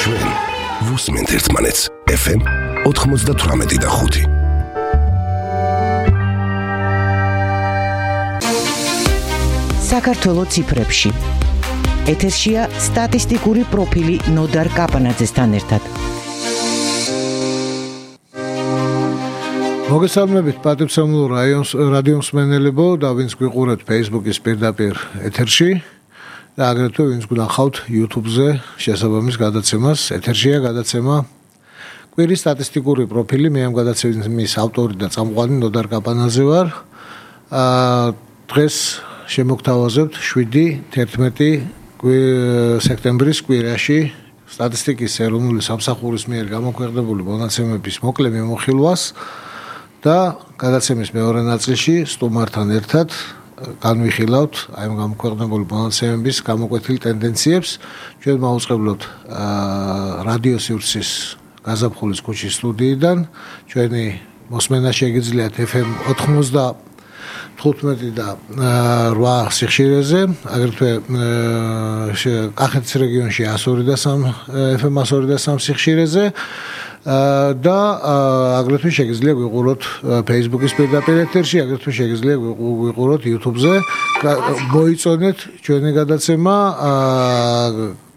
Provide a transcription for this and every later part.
ჩვენ ვუსმენთ ერთმანეთს FM 98.5. საქართველოს ციფრებში. ეთერშია სტატისტიკური პროფილი ნოდარ კაპანაძესთან ერთად. მოგესალმებით პატივცემულო რადიო მსმენელებო და ვინც გვიყურებთ Facebook-ის პირდაპირ ეთერში და აგრეთვე ვინც გნახავთ YouTube-ზე შესაბამის გადაცემას. ეთერშია გადაცემა კვირის სტატისტიკური პროფილი. მე ამ გადაცემის ავტორი და წამყვანი ნოდარ კაპანაძე ვარ. დღეს შემოგთავაზებთ 7-11 სექტემბრის კვირაში სტატისტიკის ეროვნული სამსახურის მიერ გამოქვეყნებული მონაცემების მოკლე მიმოხილვას და გადაცემის მეორე ნაწილში სტუმართან ერთად განვიხილავთ აი ამ გამოქვეყნებული მონაცემების გამოკვეთილ ტენდენციებს. ჩვენ მაუწყებლობთ რადიო სივრცის გაზაფხულის ქუჩის სტუდიიდან. ჩვენი მოსმენა შეგიძლიათ FM 95 და 8 სიხშირეზე, აგრეთვე კახეთის რეგიონში 102.3 FM 102.3 სიხშირეზე და აგრეთვე შეგიძლია გვიყუროთ Facebook-ის პირდაპირ ეთერში, აგრეთვე შეგიძლია გვიყუროთ YouTube-ზე. მოიწონეთ ჩვენი გადაცემა,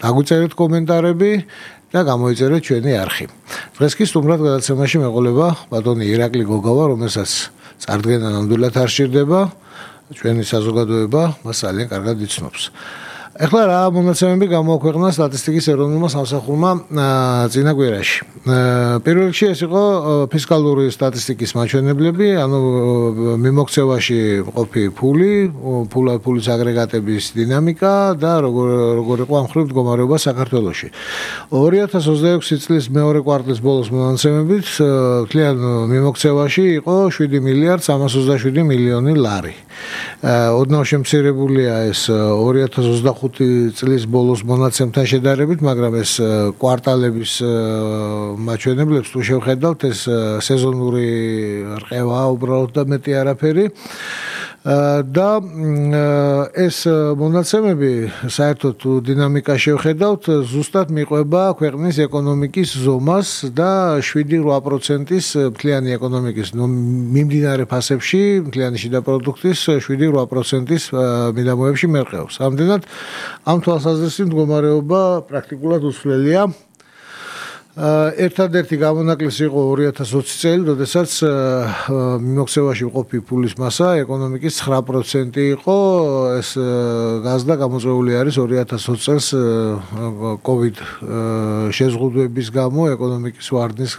დაგვიწერეთ კომენტარები და გამოიწერეთ ჩვენი არხი. დღეს კი სტუმრად გადაცემაში მეყოლება ბატონი ირაკლი გოგავა, რომელსაც წარდგენა ნამდვილად არ სჭირდება, ჩვენი საზოგადოება მას ძალიან კარგად იცნობს. ეხლა რა მონაცემები გამოაქვეყნა სტატისტიკის ეროვნულმა სამსახურმა წინა კვირაში. პირველ რიგში ეს იყო ფისკალური სტატისტიკის მაჩვენებლები, ანუ მიმოქცევაში მყოფი ფულის აგრეგატების დინამიკა და როგორ იყო ამ მხრივ მდგომარეობა საქართველოში. 2026 წლის მეორე კვარტლის ბოლოს მონაცემებით მთლიან მიმოქცევაში იყო 7.327 მილიონი ლარი. ოდნავ შემცირებულია ეს 2025 წლის ბოლოს მონაცემთან შედარებით, მაგრამ ეს კვარტალების მაჩვენებლებს თუ შევხედავთ, ეს სეზონური რყევაა უბრალოდ და მეტი არაფერი. და ეს მონაცემები საერთოდ დინამიკა შევხედავთ, ზუსტად მიყვება ქვეყნის ეკონომიკის ზომას და 7-8%-ის მთლიანი ეკონომიკის მიმდინარე ფასებში, მთლიანი შიდა პროდუქტის 7-8%-ის მიდამოებში მერყეობს. ამდენად ამ თვალსაზრისით მდგომარეობა პრაქტიკულად უცვლელია. ერთადერთი გამონაკლისი იყო 2020 წელი, როდესაც მიმოქცევაში მყოფი ფულის მასა ეკონომიკის 9% იყო. ეს გაზდა გამოწვეული არის 2020 წელს COVID შეზღუდვების გამო ეკონომიკის ვარდნის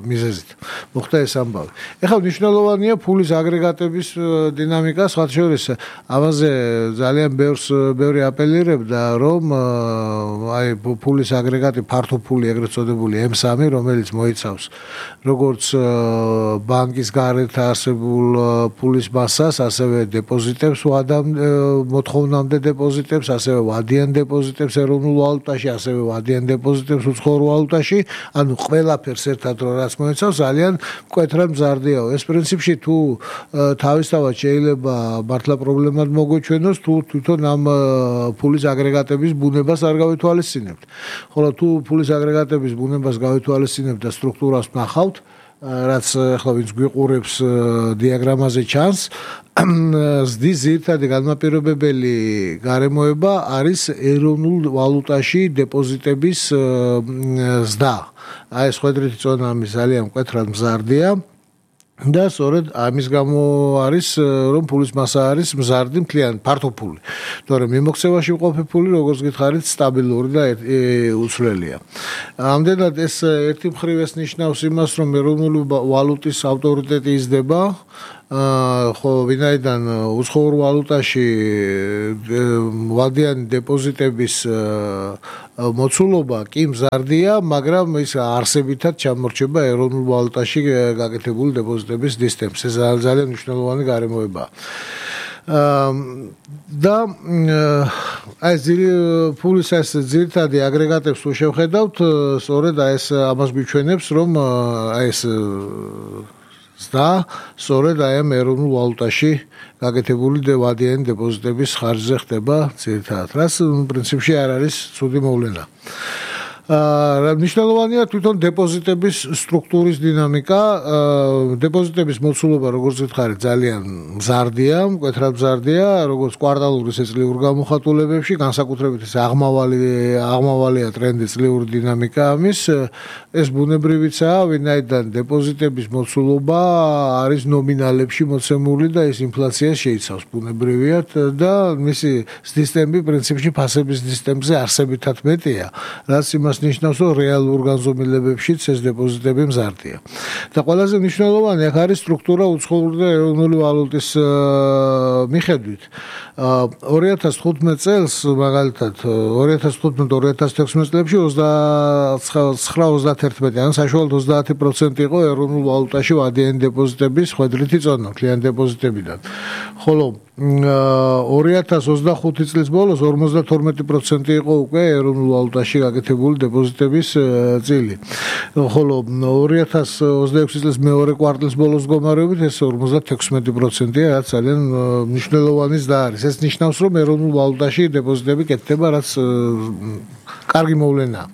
მიზეზით. მოხდა ეს ამბავი. ეხლა მნიშვნელოვანია ფულის აგრეგატების დინამიკა, სხვათა შორის ამაზე ძალიან ბევრი აპელირებდა, რომ აი ფულის აგრეგატი ფართო ფული წოდებული M3, რომელიც მოიცავს როგორც ბანკის გარეთ არსებულ ფულის მასას, ასევე დეპოზიტებს, მოთხოვნამდე დეპოზიტებს, ასევე ვადიან დეპოზიტებს ეროვნულ ვალუტაში, ასევე ვადიან დეპოზიტებს უცხოურ ვალუტაში, ანუ ყველაფერს ერთად რაც მოიცავს, ძალიან მკვეთრად მზარდიაო. ეს პრინციპში თუ თავისთავად შეიძლება მართლა პრობლემად მოგვეჩვენოს, თუ თვითონ ამ ფულის აგრეგატების ბუნებას არ გავითვალისწინებთ. ხოლო თუ ფულის აგრეგატების ბუნებას გავითვალისწინებთ და სტრუქტურას ვნახავთ, რაც ახლა ვინც გვიყურებს დიაგრამაზე ჩანს, ზრდის ძირითადი განმაპირობებელი გარემოება არის ეროვნულ ვალუტაში დეპოზიტების ზრდა. აი ეს ხვედრითი წონა ამის ძალიან მკვეთრად მზარდია. და სწორედ ამის გამო არის, რომ ფულის მასა არის მზარდი მთლიანი ფართო ფული. თორემ მიმოქცევაში მყოფი ფული, როგორც გითხარით, სტაბილური და უცვლელია. ამდენად ეს ერთი მხრივ ეს ნიშნავს იმას, რომ ეროვნული ვალუტის ავტორიტეტი იზრდება, ხო ვინაიდან უცხოურ ვალუტაში ვადიანი დეპოზიტების მოცულობა კი მზარდია, მაგრამ ის არსებითად ჩამორჩება ეროვნულ ვალუტაში გაკეთებული დეპოზიტების დისტემს. ეს ძალიან მნიშვნელოვანი გარემოებაა. და აი ფულის ეს ძირითადი აგრეგატებს თუ შევხედავთ, სწორედ ეს ამას გვიჩვენებს, რომ აი ეს და სწორედ აი ამ ეროვნულ ვალუტაში გაკეთებული ვადიანი დეპოზიტების ხარჯზე ხდება ძირითადად, რაც პრინციპში არ არის ცუდი მოვლენა. მნიშვნელოვანია თვითონ დეპოზიტების სტრუქტურის დინამიკა. დეპოზიტების მოცულობა, როგორც გითხარით, ძალიან მზარდია, მკვეთრად მზარდია, როგორც კვარტალური წლიურ გამოხატულებებში, განსაკუთრებით ეს აღმავალია ტრენდი წლიური დინამიკა ამის. ეს ბუნებრივიცაა, ვინაიდან დეპოზიტების მოცულობა არის ნომინალებში მოცემული და ეს ინფლაციას შეიცავს ბუნებრივიად და მისი ზრდის ტემპი პრინციპში ფასების ზრდის ტემპზე არსებითად მეტია, რაც იმას ნიშნავს, რომ რეალურ განზომილებებშიც ეს დეპოზიტები მზარდია. და ყველაზე მნიშვნელოვანი აქ არის სტრუქტურა უცხოური და ეროვნული ვალუტის მიხედვით. 2015 წელს მაგალითად 2015-2016 წლებში 29-31, ანუ საშუალოდ 30% იყო ეროვნულ ვალუტაში ვადიანი დეპოზიტების ხვედრითი წონა კლient დეპოზიტებიდან. ხოლო 2025 წლის ბოლოს 52% იყო უკვე ეროვნულ ვალუტაში გაკეთებული დეპოზიტების წილი. ხოლო 2026 წლის მეორე კვარტლის ბოლოს მდგომარეობით ეს 56%-ია, რაც ძალიან მნიშვნელოვანი ზრდა არის. ეს ნიშნავს, რომ ეროვნულ ვალუტაში დეპოზიტები კეთდება, რაც კარგი მოვლენაა.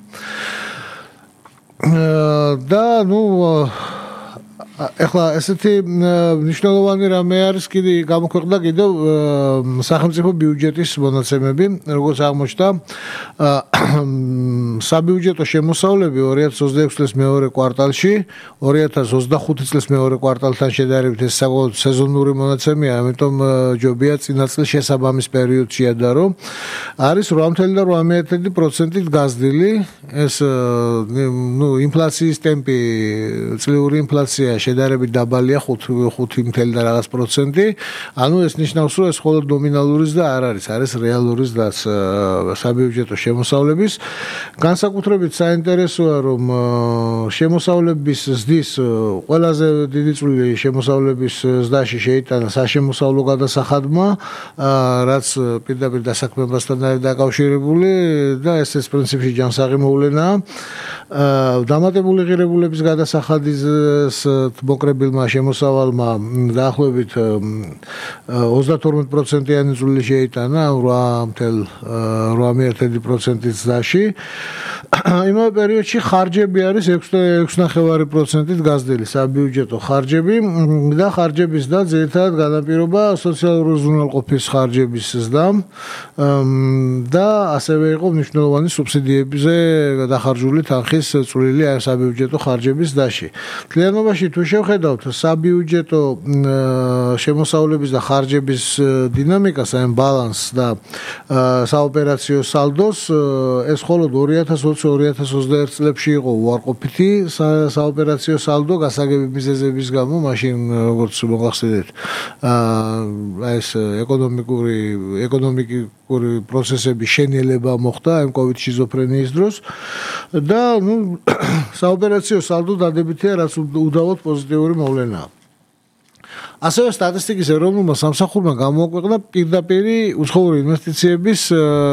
და ეხლა ესეთი მნიშვნელოვანი რამე არის კიდე გამოქვეყნდა კიდევ სახელმწიფო ბიუჯეტის მონაცემები, როგორც აღმოჩნდა საბიუჯეტო შემოსავლები 2026 წლის მეორე კვარტალში 2025 წლის მეორე კვარტალთან შედარებით ეს საკმაოდ სეზონური მონაცემია, ამიტომ ჯობია წინა წლის შესაბამის პერიოდში ადარო. არის 8.8%-ით გაზრდილი, ეს ინფლაციის ტემპი, წლიური ინფლაცია შედარებით დაბალია 5 და რაღაც პროცენტი. ანუ ეს ნიშნავს, რომ ეს მხოლოდ ნომინალური ზრდა არ არის, არის რეალური ზრდა საბიუჯეტო შემოსავლების. განსაკუთრებით საინტერესოა, რომ შემოსავლების ზრდის ყველაზე დიდი წვლილი შემოსავლების ზრდაში შეიტანა საშემოსავლო გადასახადმა, რაც პირდაპირ დასაქმებასთან არის დაკავშირებული და ეს პრინციპში ჯანსაღი მოვლენაა. დამატებული ღირებულების გადასახადის მოკრებილმა შემოსავალმა დაახლოებით 32%-იანი წვლილი შეიტანა 8.8%-ით ზრდაში. იმავე პერიოდში ხარჯები არის 6.9%-ით გაზრდილი საბიუჯეტო ხარჯები და ხარჯების ზრდა ძირითადად განაპირობა სოციალური უზრუნველყოფის ხარჯების ზრდამ და ასევე იყო მნიშვნელოვანი სუბსიდიებზე დახარჯული თანხის წვლილი საბიუჯეტო ხარჯების ზრდაში. მთლიანობაში თუ შევხედავთ საბიუჯეტო შემოსავლების და ხარჯების დინამიკას, აი ბალანსს და საოპერაციო სალდოს, ეს მხოლოდ 2020-2021 წლებში იყო უარყოფითი საოპერაციო სალდო გასაგები მიზეზების გამო, მაშინ როგორც მოახსენეთ, ეს ეკონომიკური პროცესების შენელება მოხდა ამ COVID შიზოფრენიის დროს და საოპერაციო სალდო დადებითია, რაც უდავოდ პოზიტიური მოვლენაა. ასევე სტატისტიკის ეროვნულმა სამსახურმა გამოაქვეყნა პირდაპირი უცხოური ინვესტიციების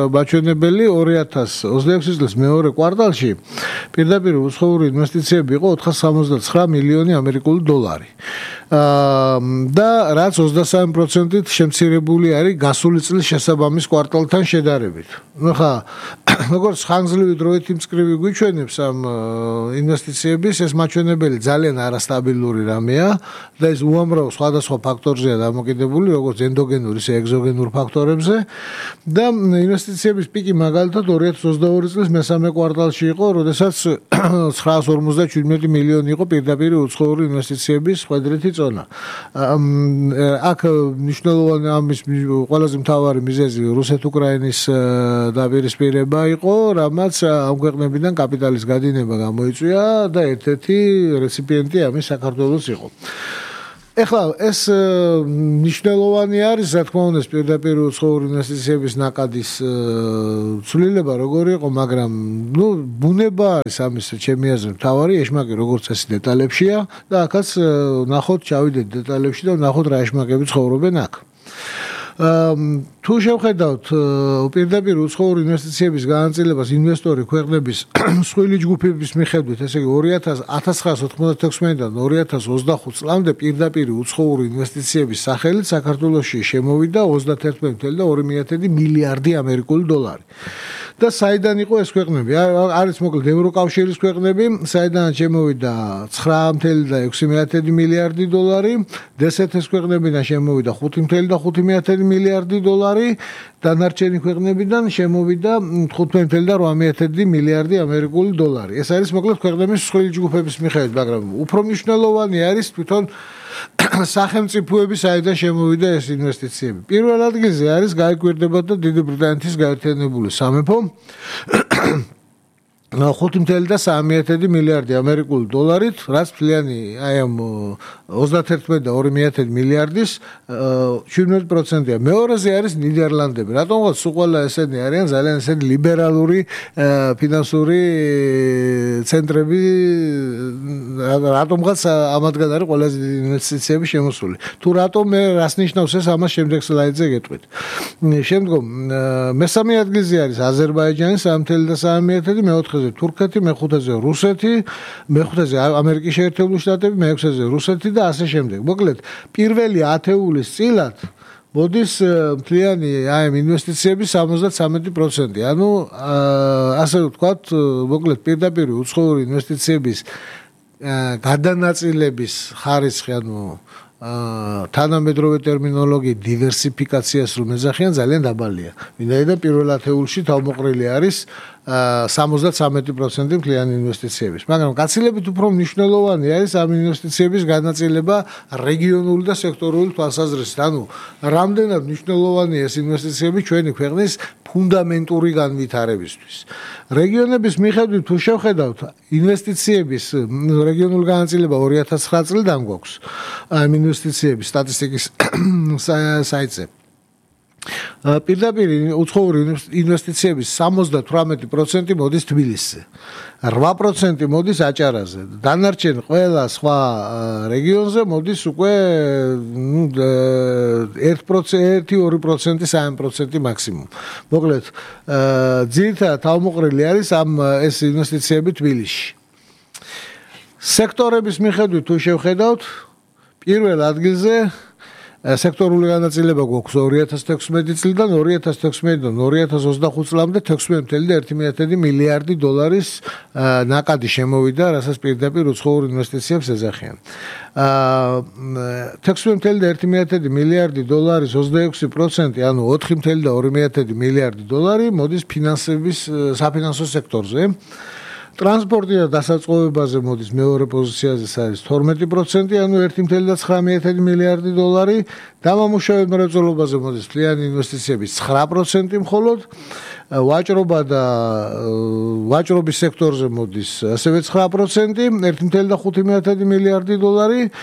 მაჩვენებელი 2026 წლის მეორე კვარტალში. პირდაპირი უცხოური ინვესტიციები იყო 469 მილიონი ამერიკული დოლარი. და რაც 23%-ით შემცირებული არის გასული წლის შესაბამის კვარტალთან შედარებით. ხა როგორც ხანგრძლივი დროით იმწკრივი გვიჩვენებს ამ ინვესტიციების, ეს მაჩვენებელი ძალიან არასტაბილური რამეა და ეს უამრავ სხვადასხვა ფაქტორზეა დამოკიდებული, როგორც ენდოგენურ, ისე ეგზოგენურ ფაქტორებზე და ინვესტიციების პიკი მაგალითად 2022 წლის მესამე კვარტალში იყო, როდესაც 957 მილიონი იყო პირდაპირი უცხოური ინვესტიციების ხვედრითი წონა. აქ მნიშვნელოვანი ამის ყველაზე მთავარი მიზეზი რუსეთ-უკრაინის დაპირისპირება იყო, რამაც ამ ქვეყნებიდან კაპიტალის გადინება გამოიწვია და ერთ-ერთი რეციპიენტი ამის საქართველოს იყო. ეხლა ეს მნიშვნელოვანი არის, რა თქმა უნდა, პირდაპირ უცხოური ინვესტიციების ნაკადის ცვლილება როგორი იყო, მაგრამ ბუნება არის ამის ჩემი აზრით მთავარი ეშმაკი როგორც წესი დეტალებშია და აქაც ნახოთ, ჩავიდეთ დეტალებში და ნახოთ რა ეშმაკები ცხოვრობენ აქ. თუ შევხედავთ პირდაპირ უცხოური ინვესტიციების განაწილებას ინვესტორი ქვეყნების მსხვილი ჯგუფების მიხედვით, ესე იგი 1996-დან 2025 წლამდე პირდაპირ უცხოური ინვესტიციების სახელით საქართველოში შემოვიდა 31.2 მილიარდი ამერიკული დოლარი. და საიდან იყო ეს ქვეყნები? არის მოკლედ ევროკავშირის ქვეყნები, საიდან შემოვიდა 9.6 მილიარდი დოლარი, დსთ-ის ქვეყნებიდან შემოვიდა 5.5 მილიარდი დოლარი, დანარჩენი ქვეყნებიდან შემოვიდა 15.8 მილიარდი ამერიკული დოლარი. ეს არის მოკლედ ქვეყნების მსხვილი ჯგუფების მიხედვით, მაგრამ უფრო მნიშვნელოვანი არის თვითონ სახელმწიფოების საიდან შემოვიდა ეს ინვესტიციები. პირველ ადგილზე არის გაიკვირდებოდა დიდი ბრიტანეთის გაერთიანებული სამეფო 5.3 მილიარდი ამერიკული დოლარით, რაც მთლიანი აი ამ 31.2 მილიარდის 17%-ია. მეორეზე არის ნიდერლანდები. რატომღაც უყველა ესენი არიან ძალიან ესენი ლიბერალური ფინანსური ცენტრები, რატომღაც ამათგან არის ყველაზე დიდი ინვესტიციები შემოსული. თუ რატომ მე რას ნიშნავს ეს, ამას შემდეგ სლაიდზე გეტყვით. შემდგომ მესამე ადგილზე არის აზერბაიჯანი 3.3, მეოთხეზე თურქეთი, მეხუთეზე რუსეთი, მეხუთეზე ამერიკის შეერთებული შტატები, მეექვსეზე რუსეთი და ასე შემდეგ. მოკლედ, პირველი ათეულის წილად მოდის მთლიანი აი ინვესტიციების 73%. ანუ ასე ვთქვათ, მოკლედ პირდაპირ უცხოური ინვესტიციების გადანაწილების ხარისხი, ანუ თანამედროვე ტერმინოლოგიით დივერსიფიკაციას რომ ეძახიან, ძალიან დაბალია. ვინაიდან პირველ ათეულში თავმოყრილი არის 73% მთლიანი ინვესტიციების. მაგრამ გაცილებით უფრო მნიშვნელოვანი არის ამ ინვესტიციების განაწილება რეგიონული და სექტორული თვალსაზრისით. ანუ რამდენად მნიშვნელოვანია ეს ინვესტიციები ჩვენი ქვეყნის ფუნდამენტური განვითარებისთვის. რეგიონების მიხედვით თუ შევხედავთ ინვესტიციების რეგიონული განაწილება 2009 წლიდან გვაქვს ამ ინვესტიციების სტატისტიკის საიტზე. პირდაპირ უცხოური ინვესტიციების 78% მოდის თბილისზე, 8% მოდის აჭარაზე, დანარჩენ ყველა სხვა რეგიონზე მოდის უკვე 1%, 2% მაქსიმუმ. მოკლედ, ძირითადად თავმოყრილი არის ეს ინვესტიციები თბილისში. სექტორების მიხედვით თუ შევხედავთ, პირველ ადგილზე სექტორული განაწილება გვაქვს 2016 წლიდან 2016-დან 2025 წლამდე 16.1 მილიარდი დოლარის ნაკადი შემოვიდა, რასაც პირდაპირ უცხოურ ინვესტიციებს ეძახიან. 16.1 მილიარდი დოლარის 26%, ანუ 4.2 მილიარდი დოლარი მოდის საფინანსო სექტორზე. ტრანსპორტი და დასაწყობებაზე მოდის მეორე პოზიციაზე, არის 12%, ანუ 1.9 მილიარდი დოლარი, დამამუშავებელ მრეწველობაზე მოდის მთლიანი ინვესტიციების 9% მხოლოდ, ვაჭრობის სექტორზე მოდის ასევე 9%, 1.5 მილიარდი დოლარი,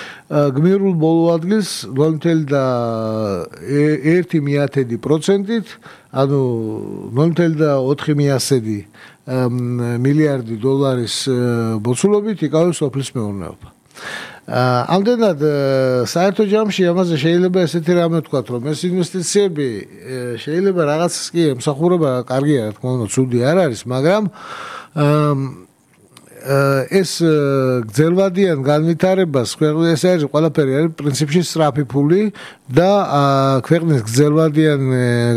გმირულ ბოლო ადგილს 0.1%-ით, ანუ 0.4 მილიარდი დოლარის მოცულობით იკავებს სოფლის მეურნეობა. ამდენად საერთო ჯამში ამაზე შეიძლება ესეთი რამე ვთქვათ, რომ ეს ინვესტიციები შეიძლება რაღაცას კი ემსახურება, კარგია, რა თქმა უნდა, ცუდი არ არის, მაგრამ ეს გრძელვადიან განვითარებას ეს არის ყველაფერი არის პრინციპში სწრაფი ფული და ქვეყნის გრძელვადიან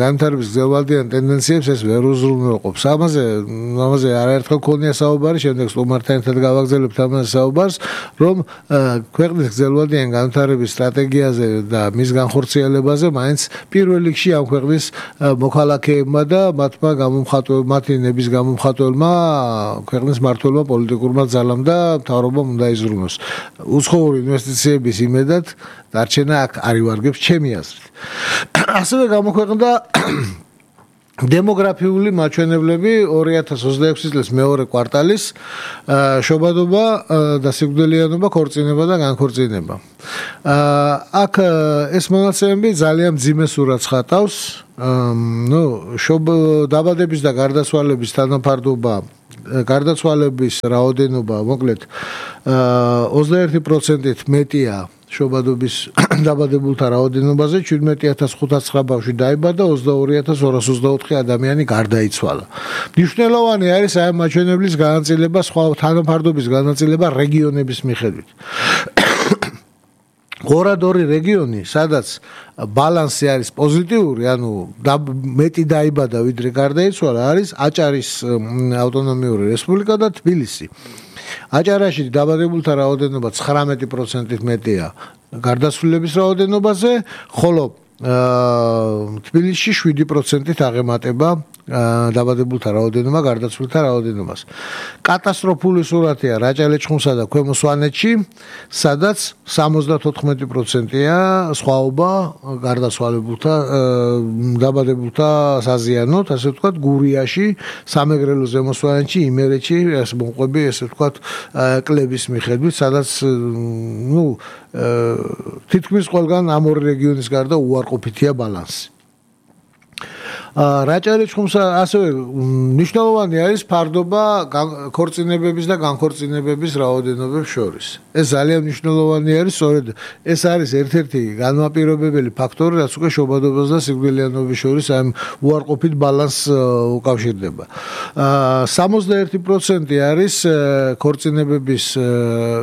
განვითარების გრძელვადიან ტენდენციებს ეს ვერ უზრუნველყოფს. ამაზე არაერთხელ ქონია საუბარი, შემდეგ სტუმართან ერთად გავაგზავნებთ ამაზე საუბარს, რომ ქვეყნის გრძელვადიან განვითარების სტრატეგიაზე და მის განხორციელებაზე მაინც პირველ რიგში ამ ქვეყნის მოქალაქეებმა და მათი ნების გამომხატველმა ქვეყნის მმართველმა პოლიტიკურმა ძალამ და მთავრობამ უნდა იზრუნოს. უცხოური ინვესტიციების იმედად დარჩენა აქ არ ივარგებს ჩემი აზრით. ასევე გამოქვეყნდა დემოგრაფიული მაჩვენებლები 2026 წლის მეორე კვარტალის შობადობა და სიკვდილიანობა, ქორწინება და განქორწინება. აქ ეს მონაცემები ძალიან მძიმე სურათს ხატავს. დაბადების და გარდაცვალების თანაფარდობა, გარდაცვალების რაოდენობა, მოკლედ 21%-ით მეტია შობადობის დაბადებულთა რაოდენობაზე 17509 ბავშვი დაიბადა, 22224 ადამიანი გარდაიცვალა. მნიშვნელოვანი არის აი მაჩვენებლის განაწილება სხვა თანაფარდობის განაწილება რეგიონების მიხედვით. 2-2 რეგიონი, სადაც ბალანსი არის პოზიტიური, ანუ მეტი დაიბადა ვიდრე გარდაიცვალა, არის აჭარის ავტონომიური რესპუბლიკა და თბილისი. აჭარაში დაბადებულთა რაოდენობა 19%-ით მეტია გარდაცვლილების რაოდენობაზე, ხოლო თბილისში 7%-ით აღემატება დაბადებულთა რაოდენობა გარდაცვლილთა რაოდენობას. კატასტროფული სურათია რაჭა-ლეჩხუმსა და ქვემო სვანეთში, სადაც 74%-ია სხვაობა გარდაცვალებულთა დაბადებულთა საზიანოთ, ასე ვთქვათ, გურიაში, სამეგრელო ზემო სვანეთში, იმერეთში, ეს მომყვები, ესე ვთქვათ, კლების მიხედვით, სადაც თითქმის ყველგან ამ ორი რეგიონის გარდა უარყოფითია ბალანსი. რაჭა-ლეჩხუმსა ასევე მნიშვნელოვანი არის ფარდობა ქორწინებების და განქორწინებების რაოდენობებს შორის. ეს ძალიან მნიშვნელოვანი არის, სწორედ ეს არის ერთ-ერთი განმაპირობებელი ფაქტორი, რაც უკვე შობადობას და სიკვდილიანობის შორის ამ უარყოფით ბალანსს უკავშირდება. 61% არის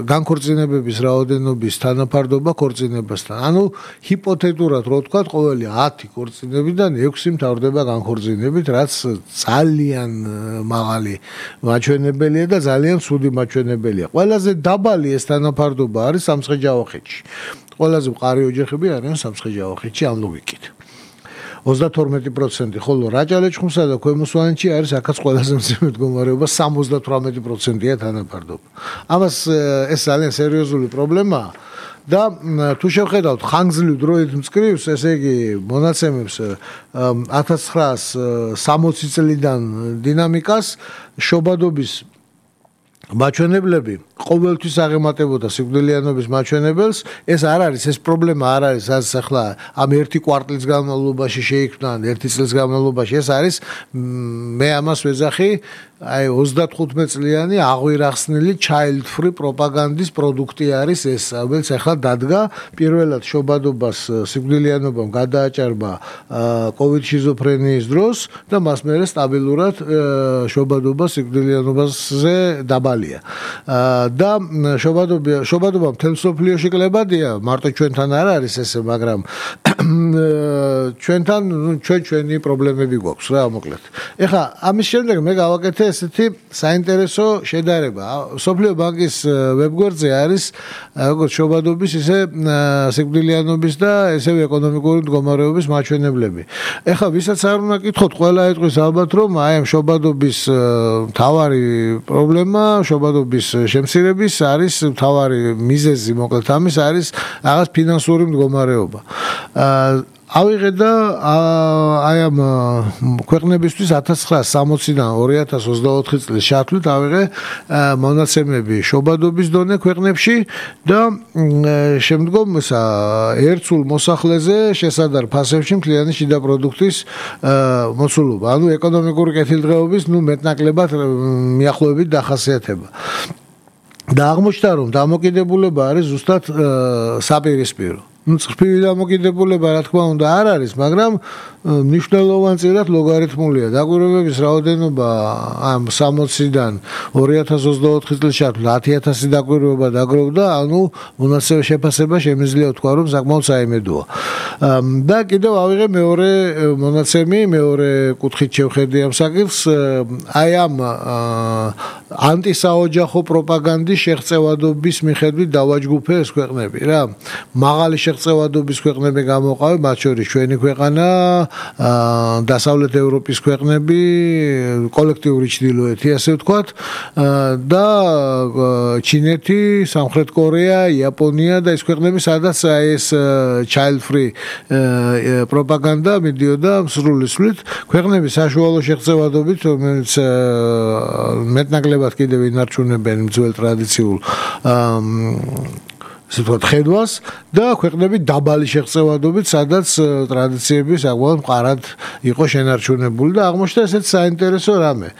განქორწინებების რაოდენობის თანაფარდობა ქორწინებასთან. ანუ ჰიპოთეტურად რო ვთქვათ, ყოველი 10 ქორწინებიდან 6 მთავრდება განქორწინებით, რაც ძალიან მაღალი მაჩვენებელია და ძალიან ცუდი მაჩვენებელია. ყველაზე დაბალი ეს თანაფარდობა არის სამცხე-ჯავახეთში. ყველაზე მყარი ოჯახები არიან სამცხე-ჯავახეთში ამ ლოგიკით. 32%, ხოლო რაჭა-ლეჩხუმსა და ქვემო სვანეთში არის აქაც ყველაზე მძიმე მდგომარეობა, 78%-ია თანაფარდობა. ამას ეს ძალიან სერიოზული პრობლემაა. და თუ შევხედავთ ხანგრძლივ დროით მწკრივს, ესე იგი მონაცემებს 1960 წლიდან დინამიკას, შობადობის მაჩვენებლები ყოველთვის აღემატებოდა სიკვდილიანობის მაჩვენებელს. ეს არ არის, ეს პრობლემა არ არის, რაც ახლა ამ ერთი კვარტლის განმავლობაში შეიქმნა, ერთი წლის განმავლობაში. ეს არის, მე ამას ვეძახი, აი 35 წლიანი აღვირახსნილი child free პროპაგანდის პროდუქტი არის ეს, რომელიც ახლა დადგა. პირველად შობადობას სიკვდილიანობამ გადააჭარბა COVID შიზოფრენიის დროს და მას მერე სტაბილურად შობადობა სიკვდილიანობაზე დაბალია. და შობადობა მთელ მსოფლიოში კლებადია, მარტო ჩვენთან არ არის ესე, მაგრამ ჩვენთან ჩვენი პრობლემები გვაქვს რა, მოკლედ. ეხლა ამის შემდეგ მე გავაკეთე ესეთი საინტერესო შედარება. მსოფლიო ბანკის ვებგვერდზე არის როგორც შობადობის, ისე სიკვდილიანობის და ესევე ეკონომიკური მდგომარეობის მაჩვენებლები. ეხლა ვისაც არ უნდა კითხოთ, ყველა ეტყვის ალბათ, რომ აი ამ შობადობის მთავარი პრობლემა, შობადობის შემცირების არის მთავარი მიზეზი, მოკლედ ამის არის რაღაც ფინანსური მდგომარეობა. ავიღე და აი ამ ქვეყნებისთვის 1960-დან 2024 წლის ჩათვლით ავიღე მონაცემები შობადობის დონე ქვეყნებში და შემდგომ ერთსულ მოსახლეზე შესადარ ფასებში მთლიანი შიდა პროდუქტის მოცულობა, ანუ ეკონომიკური კეთილდღეობის მეტნაკლებად მიახლოებით დახასიათება. და აღმოჩნდა, რომ დამოკიდებულება არის ზუსტად საპირისპირო. წრფივი დამოკიდებულება რა თქმა უნდა არ არის, მაგრამ მნიშვნელოვანწილად ლოგარითმულია. დაკვირვებების რაოდენობა ამ 60-დან 2024 წლის ჩათვლით 10000 დაკვირვება დაგროვდა, ანუ მონაცემის შეფასება შემიძლია ვთქვა, რომ საკმაოდ საიმედოა. და კიდევ ავიღე მეორე მონაცემი, მეორე კუთხით შევხედე ამ საკითხს, აი ამ ანტისაოჯახო პროპაგანდის შეღწევადობის მიხედვით დავაჯგუფე ეს ქვეყნები რა. მაღალი შეღწევადობის ქვეყნები გამოყავე, მათ შორის ჩვენი ქვეყანა, დასავლეთ ევროპის ქვეყნები, კოლექტიური ჩრდილოეთი, ასე ვთქვათ, და ჩინეთი, სამხრეთ კორეა, იაპონია და ეს ქვეყნები, სადაც ეს child free პროპაგანდა მიდიოდა სრულისვლით. ქვეყნები საშუალო შეღწევადობით, რომელიც მეტნაკლებად კიდევ ინარჩუნებენ ძველ ტრადიციულ ასე ვთქვათ, ხედვას და ქვეყნები დაბალი შეღწევადობით, სადაც ტრადიციები საკმაოდ მყარად იყო შენარჩუნებული და აღმოჩნდა ესეც საინტერესო რამე.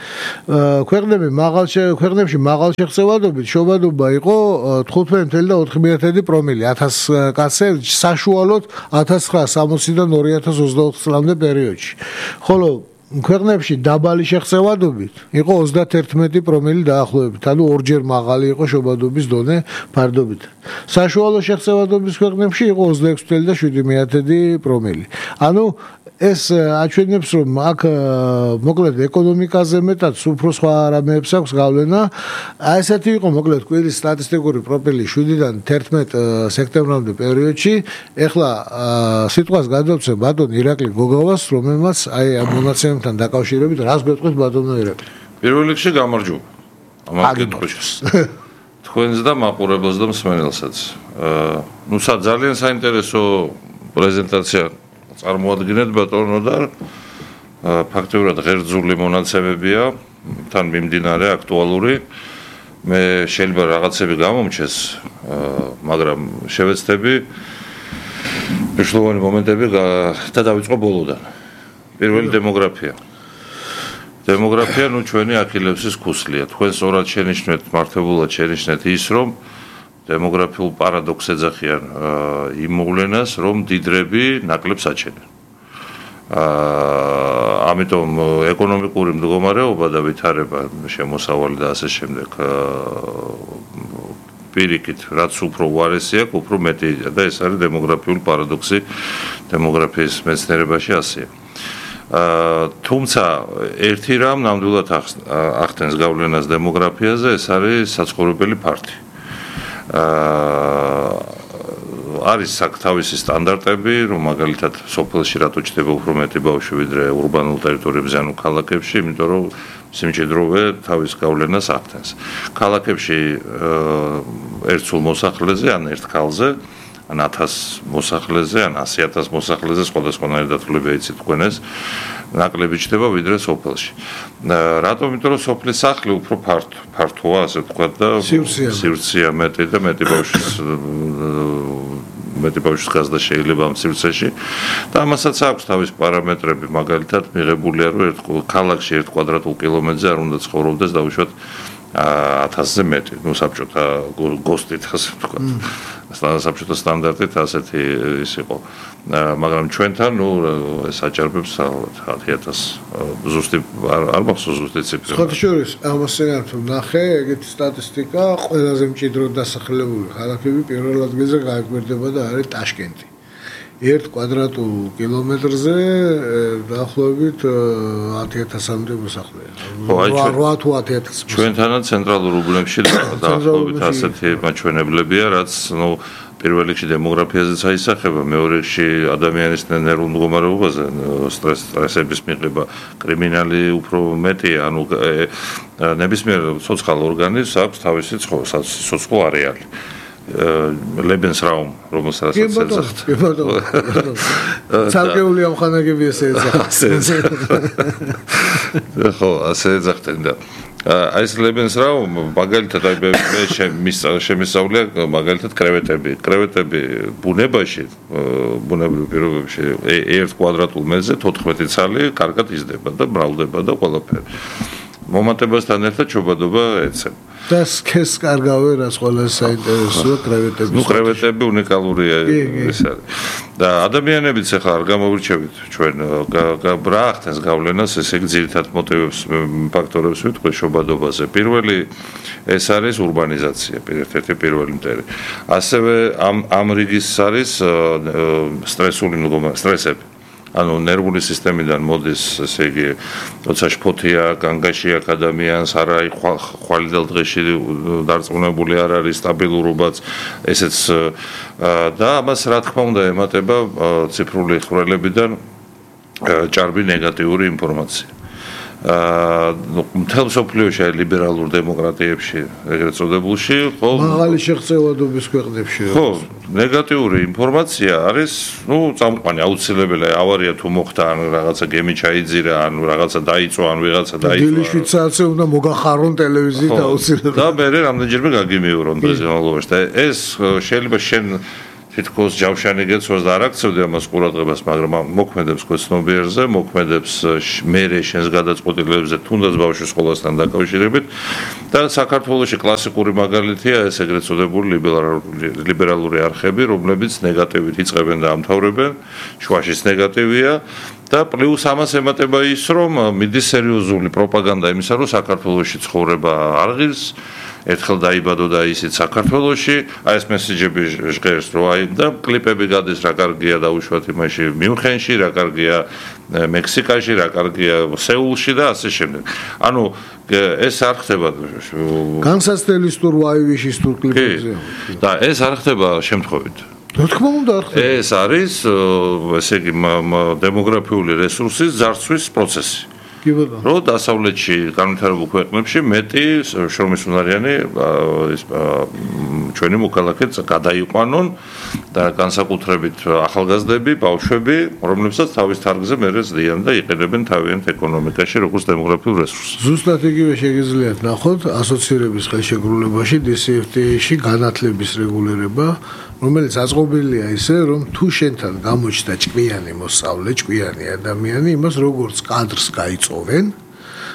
ქვეყნებში მაღალ შეღწევადობით შობადობა იყო 15.4 პრომილი 1000 კაცზე, საშუალოდ 1960-დან 2024 წლამდე პერიოდში. ხოლო ქვეყნებში დაბალი შეღწევადობით იყო 31 პრომილი დაახლოებით, ანუ ორჯერ მაღალი იყო შობადობის დონე ფარდობით. საშუალო შეღწევადობის ქვეყნებში იყო 26.7 პრომილი. ანუ ეს აჩვენებს, რომ აქ მოკლედ ეკონომიკაზე მეტად უფრო სხვა რამეებს აქვს გავლენა. ესეთი იყო მოკლედ კვირის სტატისტიკური პროფილი 7-დან 11 სექტემბრამდე პერიოდში. ეხლა სიტყვას გადავცემ ბატონ ირაკლი გოგოვას, რომელმაც აი ამ მონაცემებთან დაკავშირებით რას გვეტყვით ბატონო ირაკლი? პირველ რიგში გამარჯობა. ამას გეტყვით. თქვენს და მაყურებელს და მსმენელსაც. ძალიან საინტერესო პრეზენტაცია წარმოადგენთ ბატონო და ფაქტობრივად ღერძული მონაცემებია, თან მიმდინარე აქტუალური. მე შეიძლება რაღაცები გამომჩეს, მაგრამ შევეცდები მნიშვნელოვანი მომენტები და დავიწყო ბოლოდან. პირველი დემოგრაფია. დემოგრაფია ჩვენი ახილევსის ქუსლია. თქვენ სწორად შენიშნეთ, მართებულად შენიშნეთ ის, რომ დემოგრაფიულ პარადოქსს ეძახიან იმ მოვლენას, რომ დიდრები ნაკლებს აჩენენ. ამიტომ ეკონომიკური მდგომარეობა და ვითარება, შემოსავალი და ასე შემდეგ პირიქით, რაც უფრო უარესი აქვს, უფრო მეტი და ეს არის დემოგრაფიული პარადოქსი დემოგრაფიის მეცნიერებაში ასეა. თუმცა ერთი რამ ნამდვილად ახდენს გავლენას დემოგრაფიაზე, ეს არის საცხოვრებელი ფართი. არის თავისი სტანდარტები, რომ მაგალითად სოფელში რატო ჩდება უფრო მეტი ბავშვი ვიდრე ურბანულ ტერიტორიებზე, ანუ ქალაქებში, იმიტომ რომ სიმჭიდროვე თავის გავლენას ახდენს. ქალაქებში ერთ სულ მოსახლეზე, ან ერთ ქალზე, ან 1000 მოსახლეზე, ან 100,000 მოსახლეზე სხვადასხვანაირი დათვლები იცით თქვენ ეს ნაკლები ჩდება ვიდრე სოფელში. რატომ? იმიტომ რომ სოფლის სახლი უფრო ფართოა, ასე ვთქვათ და სივრცეა მეტი და მეტი ბავშვის გაზრდა შეიძლება ამ სივრცეში და ამასაც აქვს თავის პარამეტრები, მაგალითად მიღებულია, რომ ერთ ქალაქში 1 კვადრატულ კილომეტრზე არ უნდა ცხოვრობდეს დაუშვათ 1000-ზე მეტი, საბჭოთა გოსტით, ასე ვთქვათ. საბჭოთა სტანდარტით ასეთი ის იყო. მაგრამ ჩვენთან ეს აჭარბებს 1000 ზუსტი არ მახსოვს ზუსტი ციფრი. სხვათა შორის ამასენად ნახე, ეგეთი სტატისტიკა, ყველაზე მჭიდროდ დასახლებული ქალაქები პირველ ადგილზე გაეკვირდება და არის ტაშკენტი. 1 კვადრატულ კილომეტრზე დაახლოებით 10,000-მდე მოსახლეა. 8 თუ 10,000. ჩვენთანაც ცენტრალურ უბნებში დაახლოებით ასეთი მაჩვენებლებია, რაც პირველ რიგში დემოგრაფიაზეც აისახება, მეორე რიგში ადამიანის ნერვულ მდგომარეობაზე, სტრესების მიღება, კრიმინალი უფრო მეტია, ანუ ნებისმიერ ცოცხალ ორგანიზმს აქვს თავისი სიცოცხლო არეალი. Lebensraum, რომელსაც ეძახთ. ცალკეული ამხანაგები ესე ეძახთ. ხო, ასე ეძახდნენ და აი ეს Lebensraum მაგალითად აი მე შემისწავლია მაგალითად კრევეტები ბუნებაში, ბუნებრივ პირობებში 1 კვადრატულ მეტრზე 14 ცალი კარგად იზრდება და მრავლდება და ყველაფერი. მომატებასთან ერთად ჩობადობა ეცემა. და სქეს კარგავე რაც ყველაზე საინტერესოა კრევეტები. კრევეტები უნიკალურია ეს არის. და ადამიანებიც ახლა არ გამოვრჩევით ჩვენ რა ახდენს გავლენას, ესე იგი ძირითად მოტივებს, ფაქტორებს ვიტყვი შობადობაზე. პირველი ეს არის ურბანიზაცია, ერთ-ერთი პირველი მტერი. ასევე ამ რიგის არის სტრესები. ანუ ნერვული სისტემიდან მოდის, ესე იგი, როცა შფოთია, განგაში აქვს ადამიანს, არ არის ხვალ და დღეში დარწმუნებული არ არის სტაბილურობაც, ესეც და ამას რა თქმა უნდა ემატება ციფრული ხვრელებიდან ჭარბი ნეგატიური ინფორმაცია. მთელ მსოფლიოში ლიბერალურ დემოკრატიებში ეგრეთ წოდებულში მაღალი შეღწევადობის ქვეყნებში ხო ნეგატიური ინფორმაცია არის წამყვანი აუცილებელია ავარია თუ მოხდა ან რაღაცა გემი ჩაიძირა ან რაღაცა დაიწვა ან ვიღაცა დაიწვა დილის 7 საათზე უნდა მოგახარონ ტელევიზიით აუცილებლად და მე რამდენჯერმე გაგიმიურონ პრეზიდენტულობაში და ეს შეიძლება შენ თითქოს ჯავშანი გეცვას და არ აქცევდი ამას ყურადღებას, მაგრამ მოქმედებს ქვეცნობიერზე, მოქმედებს მერე შენს გადაწყვეტილებებზე, თუნდაც ბავშვის სკოლასთან დაკავშირებით და საქართველოში კლასიკური მაგალითია ეს ეგრეთ წოდებული ლიბერალური არხები, რომლებიც ნეგატივით იწყებენ და ამთავრებენ, შუაშიც ნეგატივია და პლუს ამას ემატება ის, რომ მიდის სერიოზული პროპაგანდა იმისა, რომ საქართველოში ცხოვრება არ ღირს ერთხელ დაიბადო და ისიც საქართველოში, აი ეს მესეჯები ჟღერს რომ აი და კლიპები გადის რა კარგია დაუშვათ იმაში მიუნხენში, რა კარგია მექსიკაში, რა კარგია სეულში და ასე შემდეგ. ანუ ეს არ ხდება განსაცდელისტურ ვაივიშისტურ კლიპებზე. და ეს არ ხდება შემთხვევით. რა თქმა უნდა არ ხდება. ეს არის ესე იგი დემოგრაფიული რესურსის ძარცვის პროცესი. რო დასავლეთში განვითარებულ ქვეყნებში მეტი შრომისუნარიანი ჩვენი მოქალაქე გადაიყვანონ და განსაკუთრებით ახალგაზრდები, ბავშვები, რომლებსაც თავის თარგზე მერე ზდიან და იყენებენ თავიანთ ეკონომიკაში როგორც დემოგრაფიულ რესურსს. ზუსტად იგივე შეგიძლიათ ნახოთ ასოცირების ხელშეკრულებაში DCFTA-ში განათლების რეგულირება, რომელიც აწყობილია ისე, რომ თუ შენთან გამოჩნდა ჭკვიანი მოსწავლე, ჭკვიანი ადამიანი, იმას როგორც კადრს გაიწოვენ,